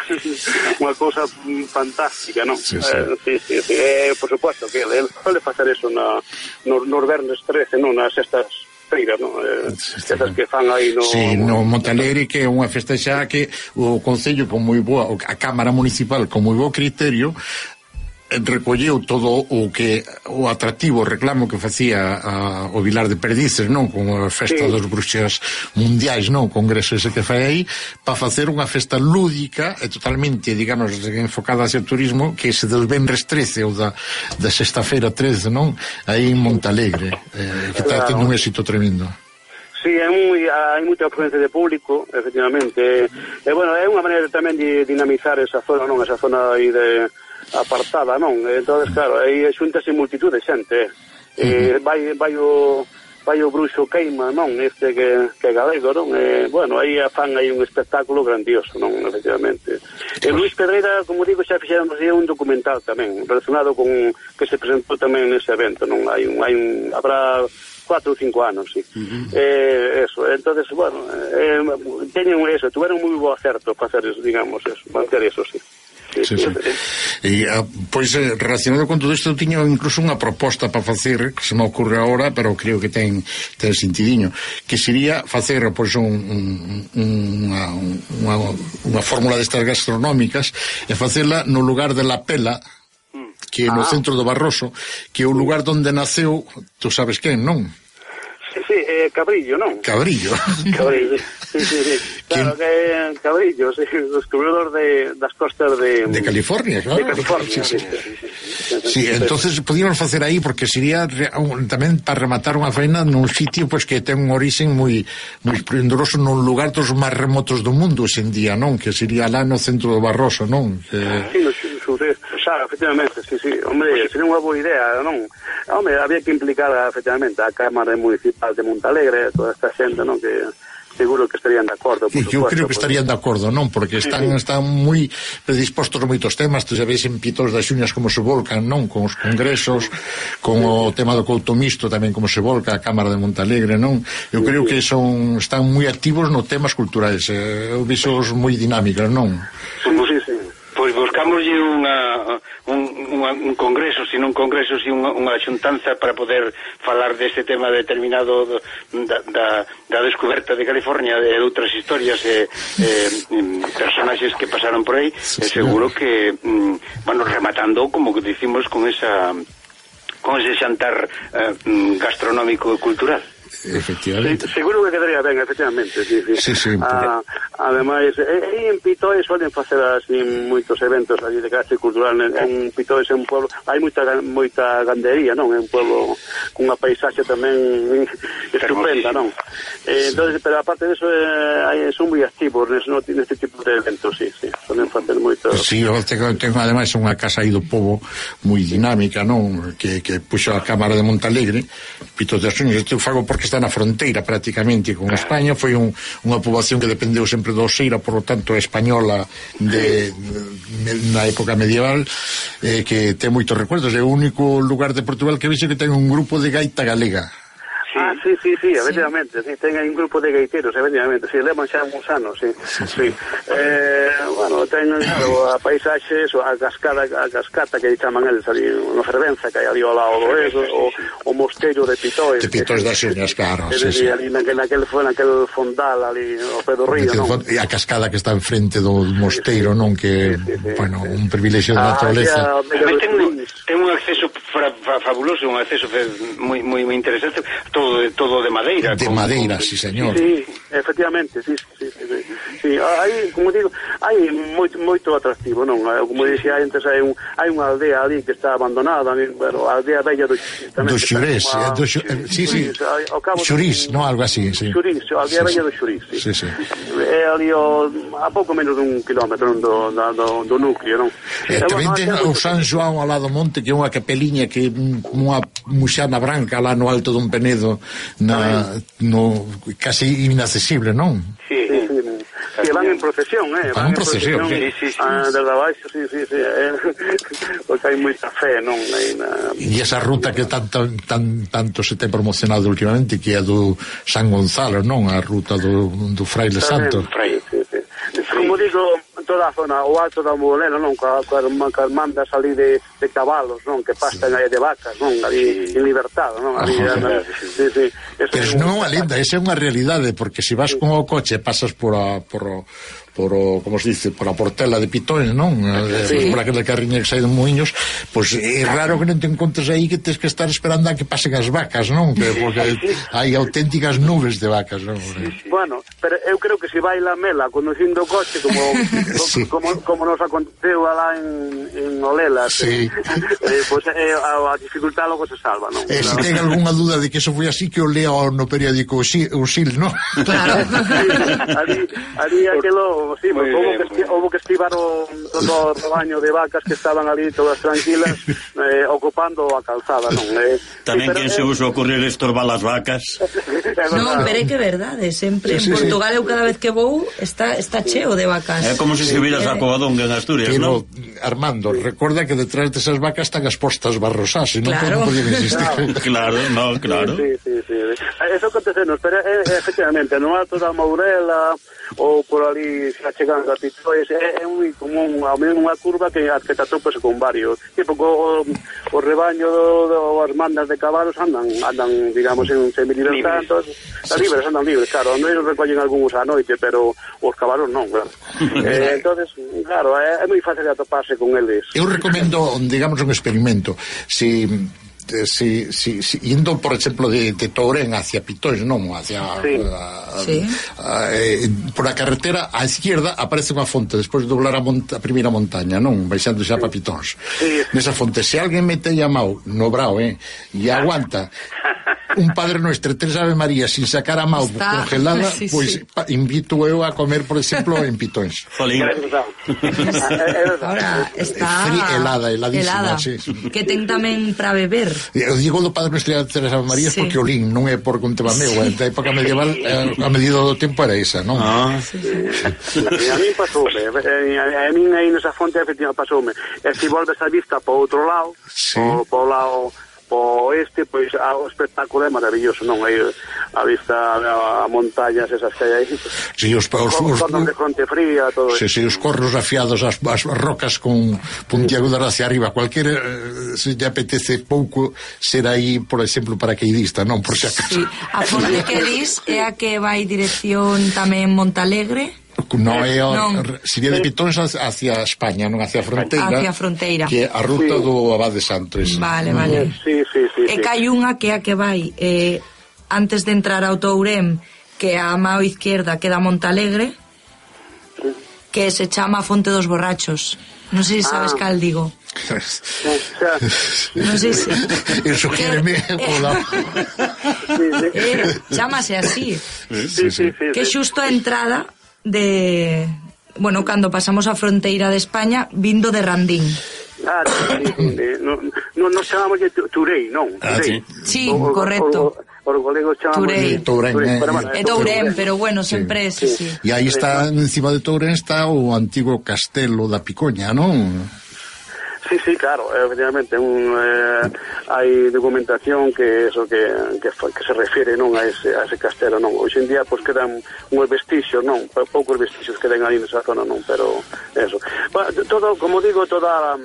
unha cousa fantástica, non? Sí, sí. Eh, sí, sí, sí. Eh, por supuesto que ele suele facer eso na, no, nos vernes trece, non? Nas estas feiras, non? Eh, estas que fan aí no... Sí, no Montalegre, que é unha festa xa que o Concello con moi boa, a Cámara Municipal con moi bo criterio recolleu todo o que o atractivo, o reclamo que facía a, o Vilar de Perdices, non? Con a festa sí. dos bruxas mundiais, non? O congreso ese que fai aí, para facer unha festa lúdica e totalmente, digamos, enfocada hacia o turismo, que se dos venres trece ou da, da sexta-feira trece, non? Aí en Montalegre, eh, que está tendo un éxito tremendo. Sí, é moi, hai moita afluencia de público, efectivamente. E, bueno, é unha maneira tamén de dinamizar esa zona, non? Esa zona aí de apartada, non? Entonces, claro, aí xuntase multitud de xente. Eh, uh-huh. vai, vai o vai o bruxo queima, non? Este que, que é galego, non? Eh, bueno, aí a fan aí un espectáculo grandioso, non? Efectivamente. E Luis Pedreira, como digo, xa fixeron un documental tamén, relacionado con que se presentou tamén nese evento, non? Hai un, hai un, habrá cuatro ou cinco anos, sí. Uh-huh. Eh, eso, entonces, bueno, eh, teñen eso, tuveron moi bo acerto para hacer, digamos, eso, manter eso, sí. Sí, sí. E, pois, relacionado con todo isto, eu tiño incluso unha proposta para facer, que se me ocorre agora, pero creo que ten, ten sentidiño, que sería facer, pois, un, un, unha, unha, unha fórmula destas gastronómicas e facela no lugar de La Pela, que é no ah. centro do Barroso, que é o lugar onde naceu, tú sabes quen, non? Sí, sí, eh, Cabrillo, non? Cabrillo. Cabrillo, sí, sí, sí. Claro que é Cabrillo, sí, o descubridor de, das costas de... De California, claro. De California, sí, sí. Sí, sí, sí, sí, sí, sí, entonces podíamos facer aí, porque sería tamén para rematar unha faena nun sitio pois que ten un orixen moi moi esplendoroso, nun lugar dos máis remotos do mundo hoxe en día, non? Que sería lá no centro do Barroso, non? Que... Sí, no, sur, xa, efectivamente, sí, sí. Hombre, sería unha boa idea, non? Hombre, había que implicar, efectivamente, a Cámara Municipal de Montalegre, toda esta xente, non? Que seguro que estarían de acordo, por sí, supuesto. Eu creo que estarían de acordo, non? Porque están, sí, sí. están moi predispostos a moitos temas, tú sabes en Pitos das Xuñas como se volcan, non? Con os congresos, con o tema do couto misto tamén como se volca a Cámara de Montalegre, non? Eu creo que son están moi activos no temas culturais, eu vixos moi dinámicas, non? Sí, sí, sí. Pois buscámoslle unha, un, un, un congreso, sino un congreso, sino unha, unha xuntanza para poder falar deste tema determinado do, da, da, da descoberta de California e de outras historias e, e personaxes que pasaron por aí, e seguro que mm, bueno, rematando, como que dicimos, con esa con ese xantar eh, gastronómico e cultural. Efectivamente. Sí, seguro que quedaría ben, efectivamente, sí, sí. Sí, sí. Ah, ademais, e, en Pitois suelen facer así moitos eventos ali de carácter cultural. En, en Pitois é un pueblo, hai moita moita gandería, non? É un pueblo con unha paisaxe tamén estupenda, non? Eh, entonces, pero aparte de eso, eh, hai, son moi activos neste, neste tipo de eventos, sí, sí. Suelen facer moito. Sí, eu tengo, tengo ademais unha casa aí do pobo moi dinámica, non? Que, que puxo a Cámara de Montalegre, Pitos de Asuños, isto fago porque está na fronteira prácticamente con España, foi un, unha poboación que dependeu sempre do Oseira, por lo tanto española de, de na época medieval, eh, que ten moitos recuerdos, é o único lugar de Portugal que vexe que ten un grupo de gaita galega. Sí. Ah, sí, sí, sí, efectivamente, sí, ten aí un grupo de gaiteros, efectivamente, sí, levan xa uns anos, sí, sí, sí. sí. Eh, bueno, ten, claro, a paisaxe, a cascada, a cascata que chaman eles ali, no Fervenza, que hai ali ao lado do eso, o, o mosteiro de Pitois. De Pitois das Uñas, claro, sí, sí. Ali naquel, naquel, naquel fondal ali, ao pé do río, non? E a cascada que está enfrente do mosteiro, non? Que, sí, sí, sí, bueno, sí. Un privilexio de naturaleza. Ah, ten, ten un acceso fra, fa, fabuloso, un acceso moi, moi, moi interesante, todo de, todo de madeira. De con, madeira, con, sí, señor. Sí, efectivamente, sí, sí, sí, sí. Sí, hai, como digo, hai moito, moito atractivo, non? Como dixía antes, hai, un, hai unha aldea ali que está abandonada, pero a aldea bella do Xurís. Do Xurés, uma... do Xu... sí, sí, Xurís, non? Algo así, sí. Xurís, a aldea sí, bella do Xurís, sí. Sí, sí. É ali o, a pouco menos dun kilómetro do, do, do núcleo, non? E tamén ten o San João ao lado do monte, que é unha capeliña que unha muxana branca lá no alto dun penedo, na, no, casi inaccesible, non? Sí, sí, sí. Que van en procesión, eh? Van en procesión, sí, sí, sí. Ah, desde abaixo, sí, sí, sí. Eh? Porque hai moita fe, non? Na... E esa ruta que tanto, tan, tanto se ten promocionado últimamente, que é do San Gonzalo, non? A ruta do, do Fraile Santo. Sí, sí, sí. Como digo, toda a zona, o alto da Morena, non? Coas mandas ali de, de cabalos, non? Que pastan aí de vacas, non? Ali en libertad, non? Ali, ah, sí, sí. Pero é non unha lenda, esa é unha realidade, porque se vas con o coche, pasas por a, por o, por o, como se dice, por a Portela de Pitois, non? Sí. Por aquela carriña que sai de Moinhos, pois pues, é raro que non te encontres aí que tens que estar esperando a que pasen as vacas, non? Que, porque hai auténticas nubes de vacas, non? Bueno, pero eu creo que se vai la mela conducindo o coche, como sí. como, como nos aconteceu alá en, en Olela, sí. eh, pois pues, eh, a, a dificultad logo se salva, non? Eh, se ten algunha duda de que eso foi así, que o lea no periódico o Sil, non? Claro. Sí, ali, ali aquelo, sí, pues, houve, que, houve que estivar o, todo o rebaño de vacas que estaban ali todas tranquilas, eh, ocupando a calzada, non? Eh, Tamén sí, quen se usa ocurrir estorbar as vacas. Non, pero é que é verdade, sempre sí, sí, en Portugal eu cada vez que vou está, está cheo de vacas. É como se se viras a Covadonga en Asturias, non? Armando, recorda que detrás desas vacas están as postas barrosás, e non claro. podían existir. Claro, no, claro. Sí, sí, sí, sí. Eso acontecenos, pero é, efectivamente, no alto da Mourela ou por ali xa chegando a Pitois, é, é moi común, ao menos unha curva que, que te atopas con varios, tipo o, o rebaño do, do, as mandas de cabalos andan, andan digamos, en semi-libertad, están libres, andan libres, claro, non eles recollen algúns á noite, pero os cabalos non, claro. eh, entonces, claro, é, é moi fácil de atoparse con eles. Eu recomendo, digamos, un experimento, si... Si, si, si, indo, por exemplo, de, de Tourén hacia Pitois, non? Hacia sí. a, sí. A, a, eh, por a carretera á izquierda aparece unha fonte despois de doblar a, monta, a primeira montaña, non? Baixando xa sí. para Pitóns. Sí. Nesa fonte, se alguén mete a mau no brao, eh, e aguanta un Padre Nuestro, tres Ave María sin sacar a mau está... congelada, sí, pois sí. Pa, invito eu a comer, por exemplo, en Pitóns. Jolín. Ahora está Fri, helada, heladísima, helada. Sí, sí. Que ten tamén para beber. Eu digo do Padre Nuestro e tres Ave María sí. porque o lin non é por un tema meu, sí. Da época medieval a medida do tempo era esa, non? Ah, sí, sí. A mí pasoume, a mí aí nesa fonte efectivamente pasoume. E se volves a vista para outro lado, sí. o para o lado po oeste, pois a, o espectáculo é maravilloso, non? Aí a vista a, a montañas esas que hai aí. Si, os, os, os, os de fronte fría, todo si, si, os corros afiados, as, as rocas con puntiagudas hacia arriba, cualquier eh, se lle apetece pouco ser aí, por exemplo, paracaidista, non? Por si acaso. Sí. A fonte que dis é a que vai dirección tamén Montalegre? Non é o, non. sería de Pitóns hacia España, non hacia a fronteira, hacia a fronteira, que é a ruta sí. do Abade Santo ese. Vale, vale. Sí, sí, sí, E sí. que hai unha que é a que vai eh, antes de entrar ao Tourén, que a mao izquierda queda Montalegre, que se chama Fonte dos Borrachos. Non sei se sabes Ah. cal digo. Non sei se Eso quéreme pola... eh, chamase así. Sí, sí, sí, Que é sí. xusto a entrada de, bueno, cando pasamos a fronteira de España vindo de Randín. Ah, sí, sí, sí. No, no, nos chamamos de Turei, non? Ah, Turei. Sí, O- o- correcto. o- Os golegos chamamos Turei. de Tourén, eh, pero, bueno, É Tourén, pero bueno, sempre é, sí, sí. E aí está, encima de Tourén está o antigo castelo da Picoña, non? Sí, sí, claro, efectivamente, un, eh, hai documentación que eso que, que, que se refire non a ese, a ese castelo, non. Hoxe en día pois pues, quedan uns vestixios, non, poucos vestixios quedan ali nesa zona, non, pero eso. Bueno, todo, como digo, toda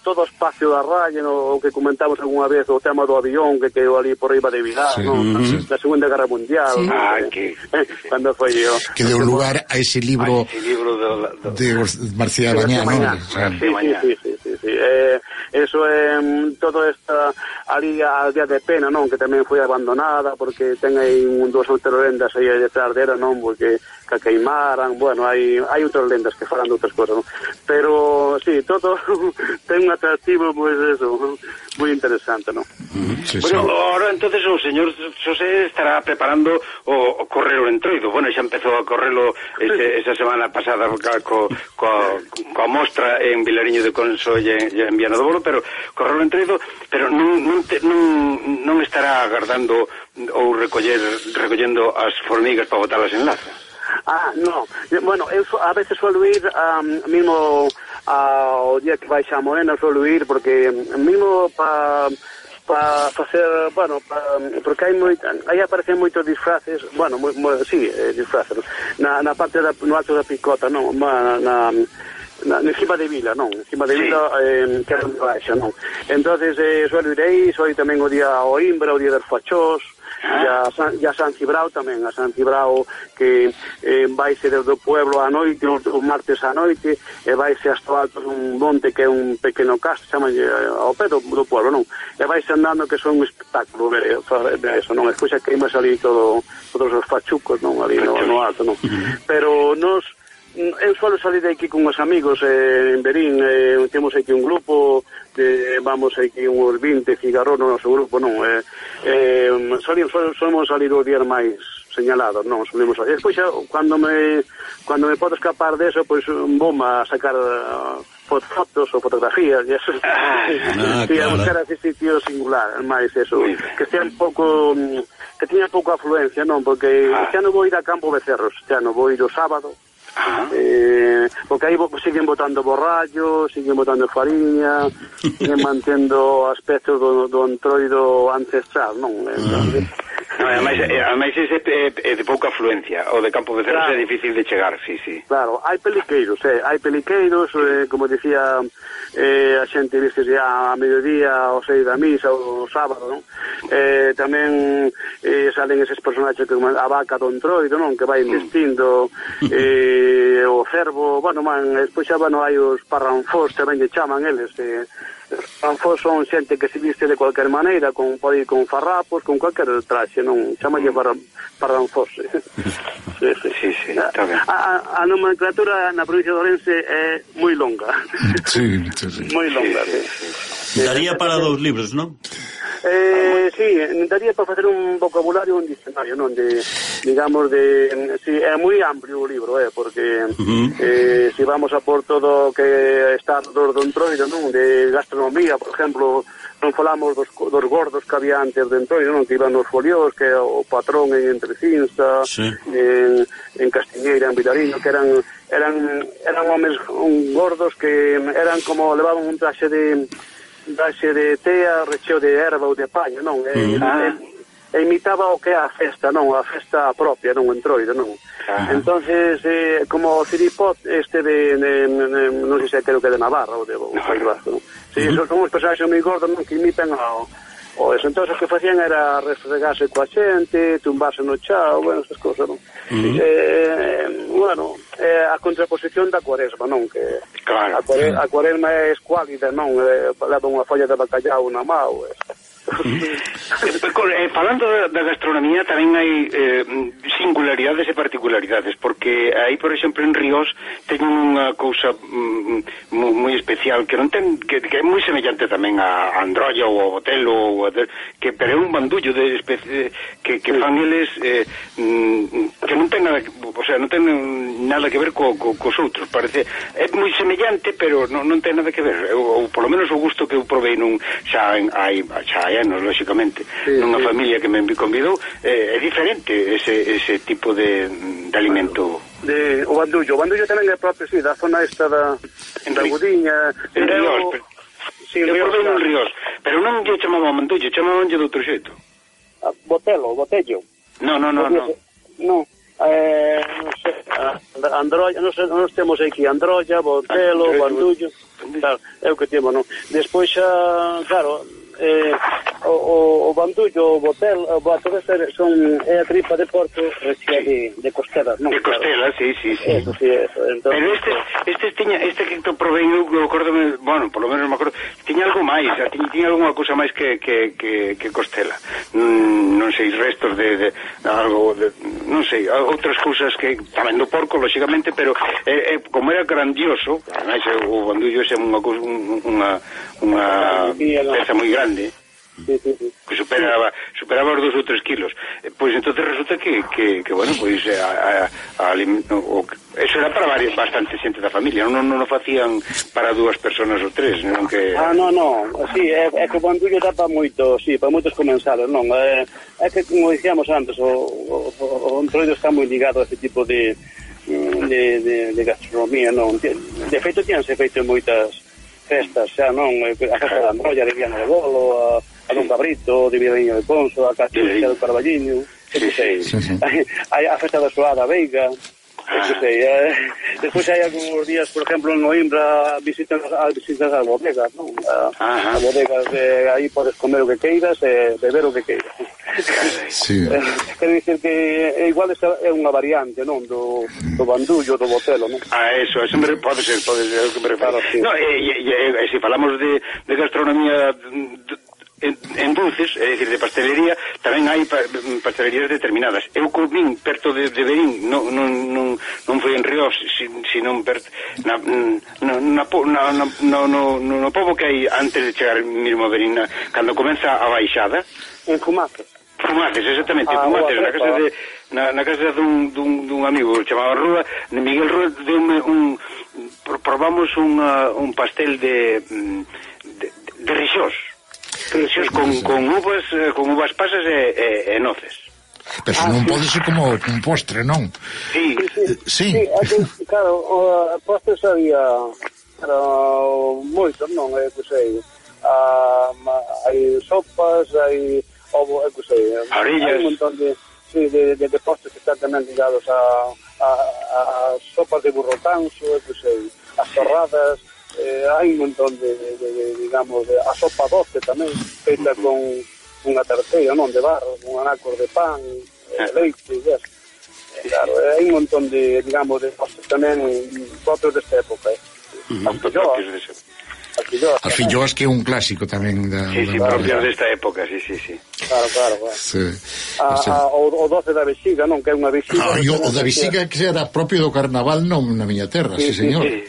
todo o espacio da raya, no, o que comentamos algunha vez, o tema do avión que quedou ali por riba de Vilar, Sí. non, Mm-hmm. da Segunda Guerra Mundial, Sí. non, Ah, que, que- cando foi yo. Que deu lugar a ese libro Ese libro do, do... de Marcía Bañá, non? Sí, sí, sí, sí, sí, sí. Eh, eso é um, todo esta ali a aldea de Pena, non, que tamén foi abandonada porque ten aí un dos lendas aí detrás dela, non, porque que queimaran, bueno, hai hai outras lendas que falan de outras cosas, non? Pero sí, todo ten un atractivo, pois pues, eso, moi interesante, non? Sí, sí. Bueno, ahora entonces o señor Xosé estará preparando o, o correlo Entroido. Bueno, xa empezou a correlo ese, esa semana pasada ca, co, co, coa mostra en Vilariño de Conso e en, en Viana do Bolo, pero correlo Entroido, pero non, non, te, non, non estará agardando ou recoller, recollendo as formigas para botalas en laza. Ah, no. Bueno, eu so- a veces suelo ir um, mismo ao día que vai xa Morena, suelo ir porque mismo pa para facer, bueno, pa, porque hai moita, aí aparecen moitos disfraces, bueno, moi, moi, sí, eh, disfraces, na, na parte da, no alto da Picota, non, na, na Na, encima de Vila, non, encima de Sí. Vila, eh, que é onde baixa, non. Entonces, eh, suelo ir aí, soy tamén o día ao Imbra, o día dos Fachós, e a San, e a San Cibrao tamén, a San Cibrao que eh, vaise desde o pueblo á noite, o, o martes á noite, e vaise hasta o alto dun monte que é un pequeno castro, chama ao pé do, do pueblo, non? E vaise andando que son un espectáculo ver, ver eso, non? Escuxa que ima salir todo, todos os fachucos, non? Ali no, no alto, non? Pero nos eu suelo salir de aquí con os amigos eh, en Berín, eh, temos aquí un grupo de, vamos aquí uns vinte cigarros no noso grupo, non, eh, eh, solemos, solemos salir os días máis señalados, non, solemos salir. Despois, cando me cando me podo escapar de eso, pois vou a sacar uh, fotos ou fotografías, e eso, Ah, sí, a claro. buscar ese sitio singular, máis eso, que estea un pouco, que teña pouca afluencia, non, porque xa non vou ir a Campo Becerros, xa non vou ir o sábado, eh, porque aí siguen botando borrallo, siguen botando fariña, siguen mantendo aspectos do, do entroido ancestral, non? Entonces, No, ademais, eh, ademais ese é, é de pouca afluencia, o de Campo Becerros Claro. é difícil de chegar, sí, sí. claro, hai peliqueiros, eh, hai peliqueiros, eh, como dicía, eh, a xente viste ya a mediodía, o seis da misa, o sábado, non? Eh, tamén eh, salen eses personaxes como a vaca do entroido, non? Que vai investindo, eh, o cervo, bueno, man, despois xa, bueno, hai os parranfós, tamén lle chaman eles, eh, os parranfós son xente que se viste de cualquier maneira, con, pode ir con farrapos, con cualquier traxe, non? Chamalle parran, parranfós. sí, sí. Sí, sí, está ben. A, a, a nomenclatura na provincia de Ourense é moi longa. Sí, sí, sí. moi longa, sí. Daría para dous libros, non? Eh, sí, daría para facer un vocabulario, un diccionario, non? De, digamos, de... Sí, é moi amplio o libro, eh, porque Uh-huh. eh, si vamos a por todo que está do, do entroido, non? De gastronomía, por exemplo, non falamos dos, dos gordos que había antes de entroido, non? Que iban nos folios, que o patrón en Entrecinsta, Sí. en, en Castiñeira, en Vilariño, que eran eran eran homes un, gordos que eran como, levaban un traxe de daxe de tea, recheo de erva ou de paña, non? E, Mm. ah. e, e imitaba o que é a festa, non? A festa propia, non? Entroido, non? Ah. Entonces, eh, como o Ciripot este de, de, de, de non sei se creo que de Navarra ou de o País Vasco, non? Sí, mm. son uns personaxes moi gordos, non? Que imitan ao o eso. Entonces o que facían era refregarse coa xente, tumbarse no chao, bueno, esas cosas, non? Mm. Eh, bueno, eh, a contraposición da cuaresma, non? Que claro, a, cuare, a cuaresma é escuálida, non? Eh, leva unha folla de bacallau na mao, eh. eh, falando da, da gastronomía tamén hai eh, singularidades e particularidades, porque aí, por exemplo, en Ríos teñen unha cousa mm, moi especial que non ten que, que é moi semellante tamén a Androlla ou a Botelo ou a, que pero é un bandullo de especie que, que fan eles eh, mm, que non ten nada, o sea, non ten nada que ver co, co, cos outros, parece é moi semellante, pero non, non ten nada que ver, ou, ou polo menos o gusto que eu provei nun xa hai xa hai anos, lógicamente, sí, nunha sí. familia que me convidou, eh, é diferente ese, ese tipo de, de alimento. De, o bandullo, o bandullo tamén é propio, sí, da zona esta da, da Gudiña. En Ríos, pero, sí, eu provei en Ríos, pero non lle chamaban bandullo, chamaban lle de outro xeito. Botelo, botello. No, no, no, no. No, eh, non sei, Androlla, non sei, nós temos aquí Androlla, Botelo, ah, bandullo, claro, é o que temos, non? Despois xa, claro, eh, o, o, o bandullo, o botel, o botel son, é a tripa de porco rechea de, de costelas, non? De costelas, claro. Sí, sí, sí. Eso, sí, eso. Entonces, pero este, este tiña, este que te provei, eu acordome, bueno, por lo menos me acordo, tiña algo máis, tiña, tiña algunha cousa máis que, que, que, que costela. Mm, non sei, restos de, de algo, de, non sei, outras cousas que tamén do porco, lógicamente, pero eh, eh, como era grandioso, además, o bandullo é unha cousa, unha, unha peza moi grande, sí, sí, sí. que superaba superaba os dos ou tres kilos, eh, pois entonces resulta que, que, que bueno, pois eh, a, a, a, o, eso era para varios, bastante xente da familia, non, non o facían para dúas personas ou tres, non que... Ah, non, non, sí, é, é que o bandullo dá para moito, sí, para moitos comensales, non, é, é que, como dicíamos antes, o, o, o Entroido está moi ligado a este tipo de de, de, de gastronomía, non, de feito, tíanse feito moitas festas, xa, non, a festa da Androlla de Viana de Bolo, a, a Don Cabrito, de Vilarinho de Ponso, a Cachucha do Carballiño, que sei, sí, sí. a, a festa da Soada Veiga, que sei, eh, despois hai algúns días, por exemplo, en Noimbra visitan as visitas as bodegas, non? As bodegas, eh, aí podes comer o que queiras e eh, beber o que queiras. Sí. Eh, quero dicir que é igual é unha variante, non, do, do bandullo, do botelo, non? Ah, eso, eso me, pode ser, pode ser o que me refiro. Claro, sí. No, e, e, e, e se falamos de, de gastronomía en, en dulces, é dicir, de pastelería, tamén hai pa, pastelerías determinadas. Eu comín perto de, de Berín, non, non, non, non foi en Ríos, sino perto na, na, na, na, na, no, no, no pobo que hai antes de chegar mesmo a Berín, na, cando comeza a baixada. En Fumaces. Fumaces, exactamente, ah, Fumaces, na casa de na, na casa dun, dun, dun amigo chamado Rúa, Miguel Rúa deume un probamos un, uh, un pastel de de, de rixós. Rixós con, con uvas con uvas pasas e, e, e noces. Pero se non pode ser como un postre, non? Sí, sí. Sí, sí claro, o postres había moitos, non, é que sei, hai sopas, hai ovo, é que sei, hai un montón de, sí, de, de, de postres que están tamén ligados a, a, a, a sopas de burro canso, é que sei, as torradas, eh, hai un montón de, de, de digamos, de, a sopa doce tamén, feita con unha terceira, non, de barro, con anacos de pan, eh, leite, e eso. Claro, hai un montón de, digamos, de postres tamén propios desta época, eh. Uh-huh. As filloas, as filloas que é un clásico tamén da, sí, sí, propias desta época, sí, sí, sí. Claro, claro, claro. Sí. A, a, o, o doce da vexiga, non, que é unha vexiga. Ah, yo, o da vexiga que era propio do carnaval, non na miña terra, sí, sí, señor. Sí,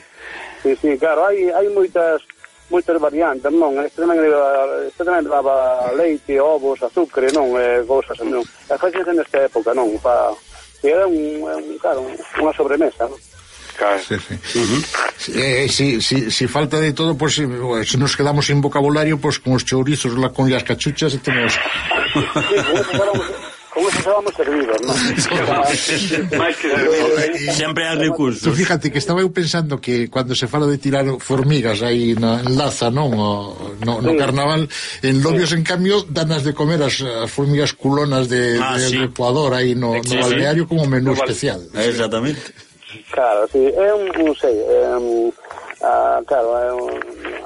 sí, sí, claro, hai, hai moitas moitas variantes, non? Este tamén leva, este tamén leva leite, ovos, azúcar, non? Eh, cousas, non? E facese nesta época, non? Pa, que era un, un, claro, unha sobremesa, non? Claro. Sí, sí. Uh-huh. eh, si, si, si falta de todo, pues, si nos quedamos sin vocabulario, pues con os chourizos, la, con las cachuchas, tenemos... Sí, como, con eso xa vamos servidos, non? máis que servidos. Sempre hai recursos. Tú fíjate que estaba eu pensando que cuando se fala de tirar formigas aí na en Laza, non? O, no, no sí. carnaval, en Lobios, sí. En cambio, danas de comer as, as formigas culonas de, ah, de, sí. de Ecuador aí no, sí, no balneario como menú no, especial. Exactamente. Claro, sí, é un, non sei, é un... Uh, claro, uh,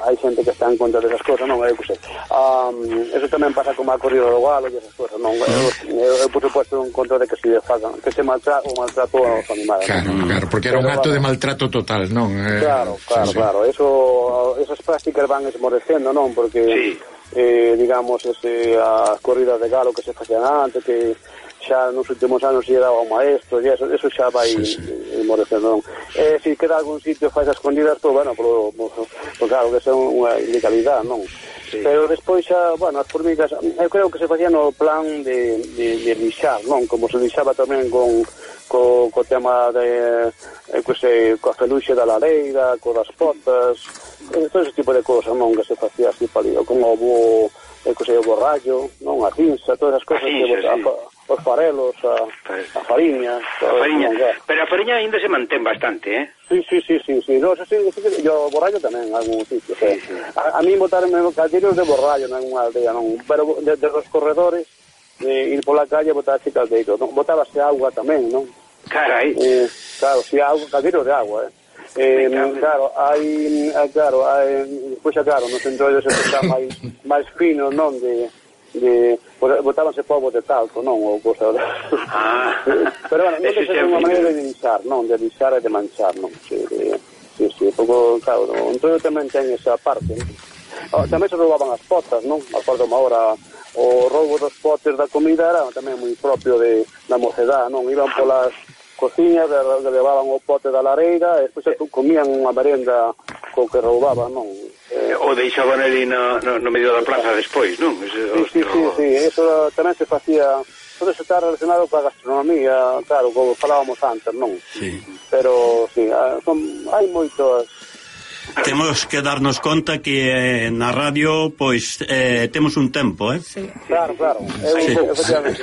hai xente que está en contra desas cosas, non, eu que sei. Um, eso tamén pasa como a corrida do galo e esas cosas, non. Eu, eu, eu por supuesto, en contra de que se fagan, que se maltrato o maltrato aos animales. Claro, ¿no? claro, porque era un acto de maltrato total, non? Eh, claro, claro, sí, claro. Sí. Eso, esas prácticas van esmorecendo, non? Porque, sí. eh, digamos, ese, as corridas de galo que se facían antes, que xa nos últimos anos lle daba o maestro e eso, eso xa vai sí, sí. Morecendo, non? Eh, se queda algún sitio faz as escondidas, pues, bueno, por, por, por claro, que é unha ilegalidade, non? Sí. Pero despois xa, bueno, as formigas, eu creo que se facía no plan de, de, de lixar, non? Como se lixaba tamén con co, co tema de, eh, que se, coa feluxe da lareira, co das potas, eh, todo ese tipo de cosas, non? Que se facía así palido, como o bo, eh, que se o borrallo, non? A cinza, todas as cosas que sí. Os farelos, a, a fariña, a fariña. Pero a fariña ainda se mantén bastante, eh? Sí, sí, sí, sí, sí. No, eso sí, sí, sí. Yo borrallo tamén, en algún sitio. Sí, sí. A, a mí botaron calderos de borrallo en algunha aldea, non? Pero desde de los corredores, eh, ir pola calle botarse caldeiro, non? Botábase agua tamén, non? Carai. Eh, claro, si sí, agua, caldeiro de agua, eh? Eh, claro, hai, claro, hai, pois xa claro, nos entroidos se xa máis máis finos, non? De de botábanse povos de talco, non, ou cosa ah. Pero bueno, non é unha maneira de lixar, non, de lixar e de manchar, non, sí, de, sí, sí, pouco, claro, entón tamén ten esa parte, non? Oh, tamén se roubaban as potas, non, acordo unha hora, o roubo dos potes da comida era tamén moi propio de, da mocedad, non, iban polas cociñas, que levaban o pote da lareira, e despois comían unha merenda co que roubaban, non? Eh, o deixaban ali no, no, no medio da plaza despois, non? Ese, sí, sí, sí, sí, eso tamén se facía, todo eso está relacionado coa gastronomía, claro, como falábamos antes, non? Sí. Pero, sí, son, hai moitos... Temos que darnos conta que eh, na radio, pois, eh, temos un tempo, eh? Sí. Claro, claro, eu, sí. Efectivamente.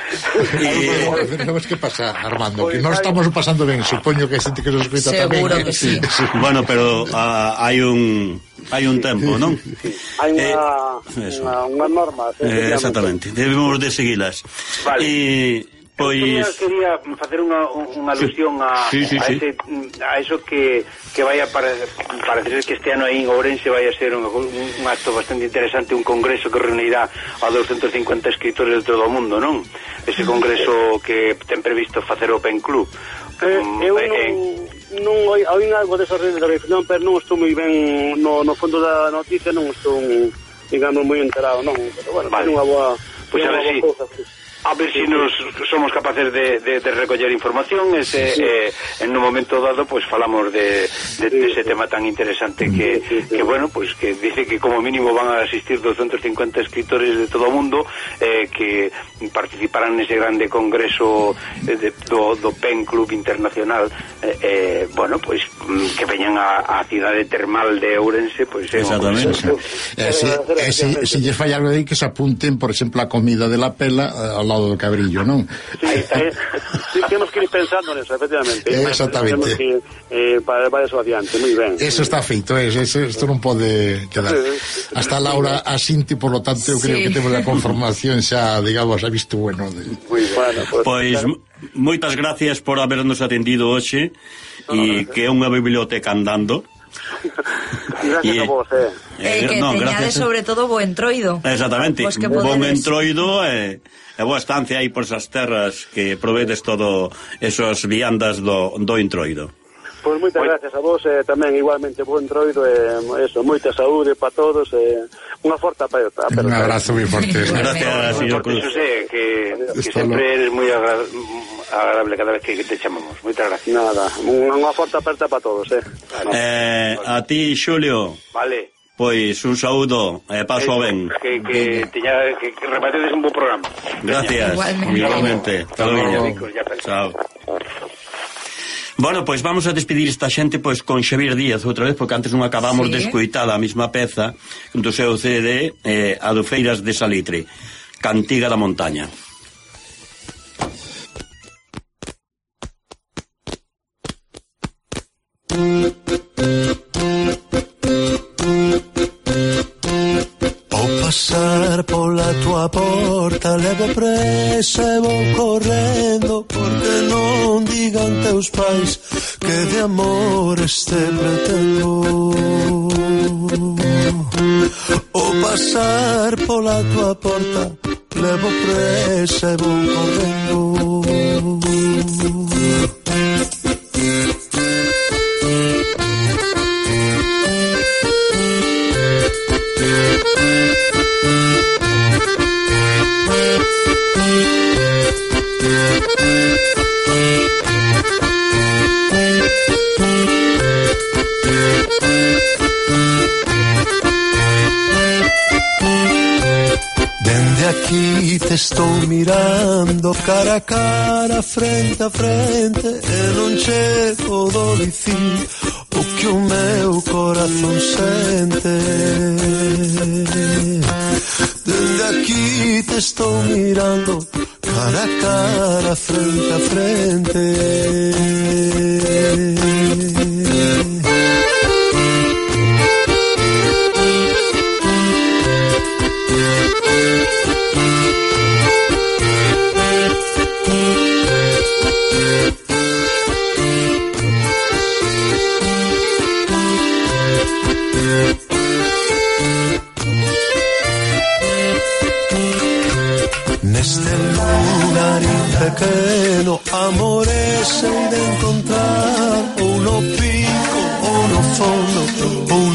E... Temos que pasar, Armando, que non estamos pasando ben, supoño que a xente que nos escuta tamén. Seguro que sí. sí. Bueno, pero uh, hai un... hai un tempo, non? Sí. Hai unha, eh, unha, unha norma. Eh, exactamente, debemos de seguilas. Vale. E... Pois... Eu quería facer unha, unha alusión a, sí, sí, a, sí. ese, a eso que, que vai a para, parecer que este ano aí en Ourense vai a ser un, un acto bastante interesante, un congreso que reunirá a doscientos cincuenta escritores de todo o mundo, non? Ese congreso que ten previsto facer o Pen Club. Eh, eu non, non oín algo desas redes de reflexión, pero non estou moi ben no, no fondo da noticia, non estou, digamos, moi enterado, non? Pero, bueno, vale. Unha boa... Pois a ver si... A ver si nos somos capaces de, de, de recoller información ese, sí, sí. Eh, en un momento dado pues falamos de, de, de ese tema tan interesante que, sí, sí. que bueno, pues que dice que como mínimo van a asistir doscientos cincuenta escritores de todo o mundo eh, que participarán nese grande congreso eh, de, do, do Pen Club Internacional eh, eh, bueno, pues que veñan a, a cidade termal de Ourense pues eh, exactamente eh, si, eh, si, si lles fai algo aí que se apunten por exemplo a comida de la pela eh, ao lado do cabrillo, non? Sí, eh, sí, temos que ir pensando neso, efectivamente. Eh, exactamente. Temos que eh, para, para eso adiante, moi ben. Eso está feito, eso, isto non pode quedar. Hasta Laura asinti, por lo tanto, eu creo sí. que temos a conformación xa, digamos, a visto bueno. De... Muy bueno, pues, pois, claro. Moitas gracias por habernos atendido hoxe e no, que é unha biblioteca andando. Gracias y, a vos, eh. eh que no, teñades sobre todo bo entroido. Exactamente, pues bon entroido e eh, boa estancia aí por esas terras que provedes todo esos viandas do, do entroido. Pois pues moitas gracias a vos, eh, tamén igualmente bo entroido e eh, eso, moita saúde para todos e eh, unha forte aperta. Un abrazo moi forte. Gracias, señor Cruz. José, que, que sempre eres moi agra agradable cada vez que te chamamos. Moitas gracias. Nada, unha forte aperta para todos, eh. Vale. Eh, a ti, Xulio. Vale. Pois un saúdo e eh, paso Eso, ben. Que, que, teña, que, que repatedes un bo programa. Gracias. Igualmente. Igualmente. Chao. Bueno, pois vamos a despedir esta xente pois con Xavier Díaz outra vez, porque antes non acabamos sí. de escoitar a mesma peza do seu C D, eh, Adufeiras de Salitre, Cantiga da Montaña. pasar pola tua porta, levo presa e vou correndo, porque non digan teus pais que de amor este pretendo. O pasar pola tua porta, levo presa e vou correndo. Dende aquí te estou mirando cara a cara, frente a frente, e non che podo dicir o que o meu corazón sente. Dende aquí te estou mirando cara a cara, frente a frente. Neste lugar pequeno, amores sei de encontrar, ou no pico ou no fondo, ou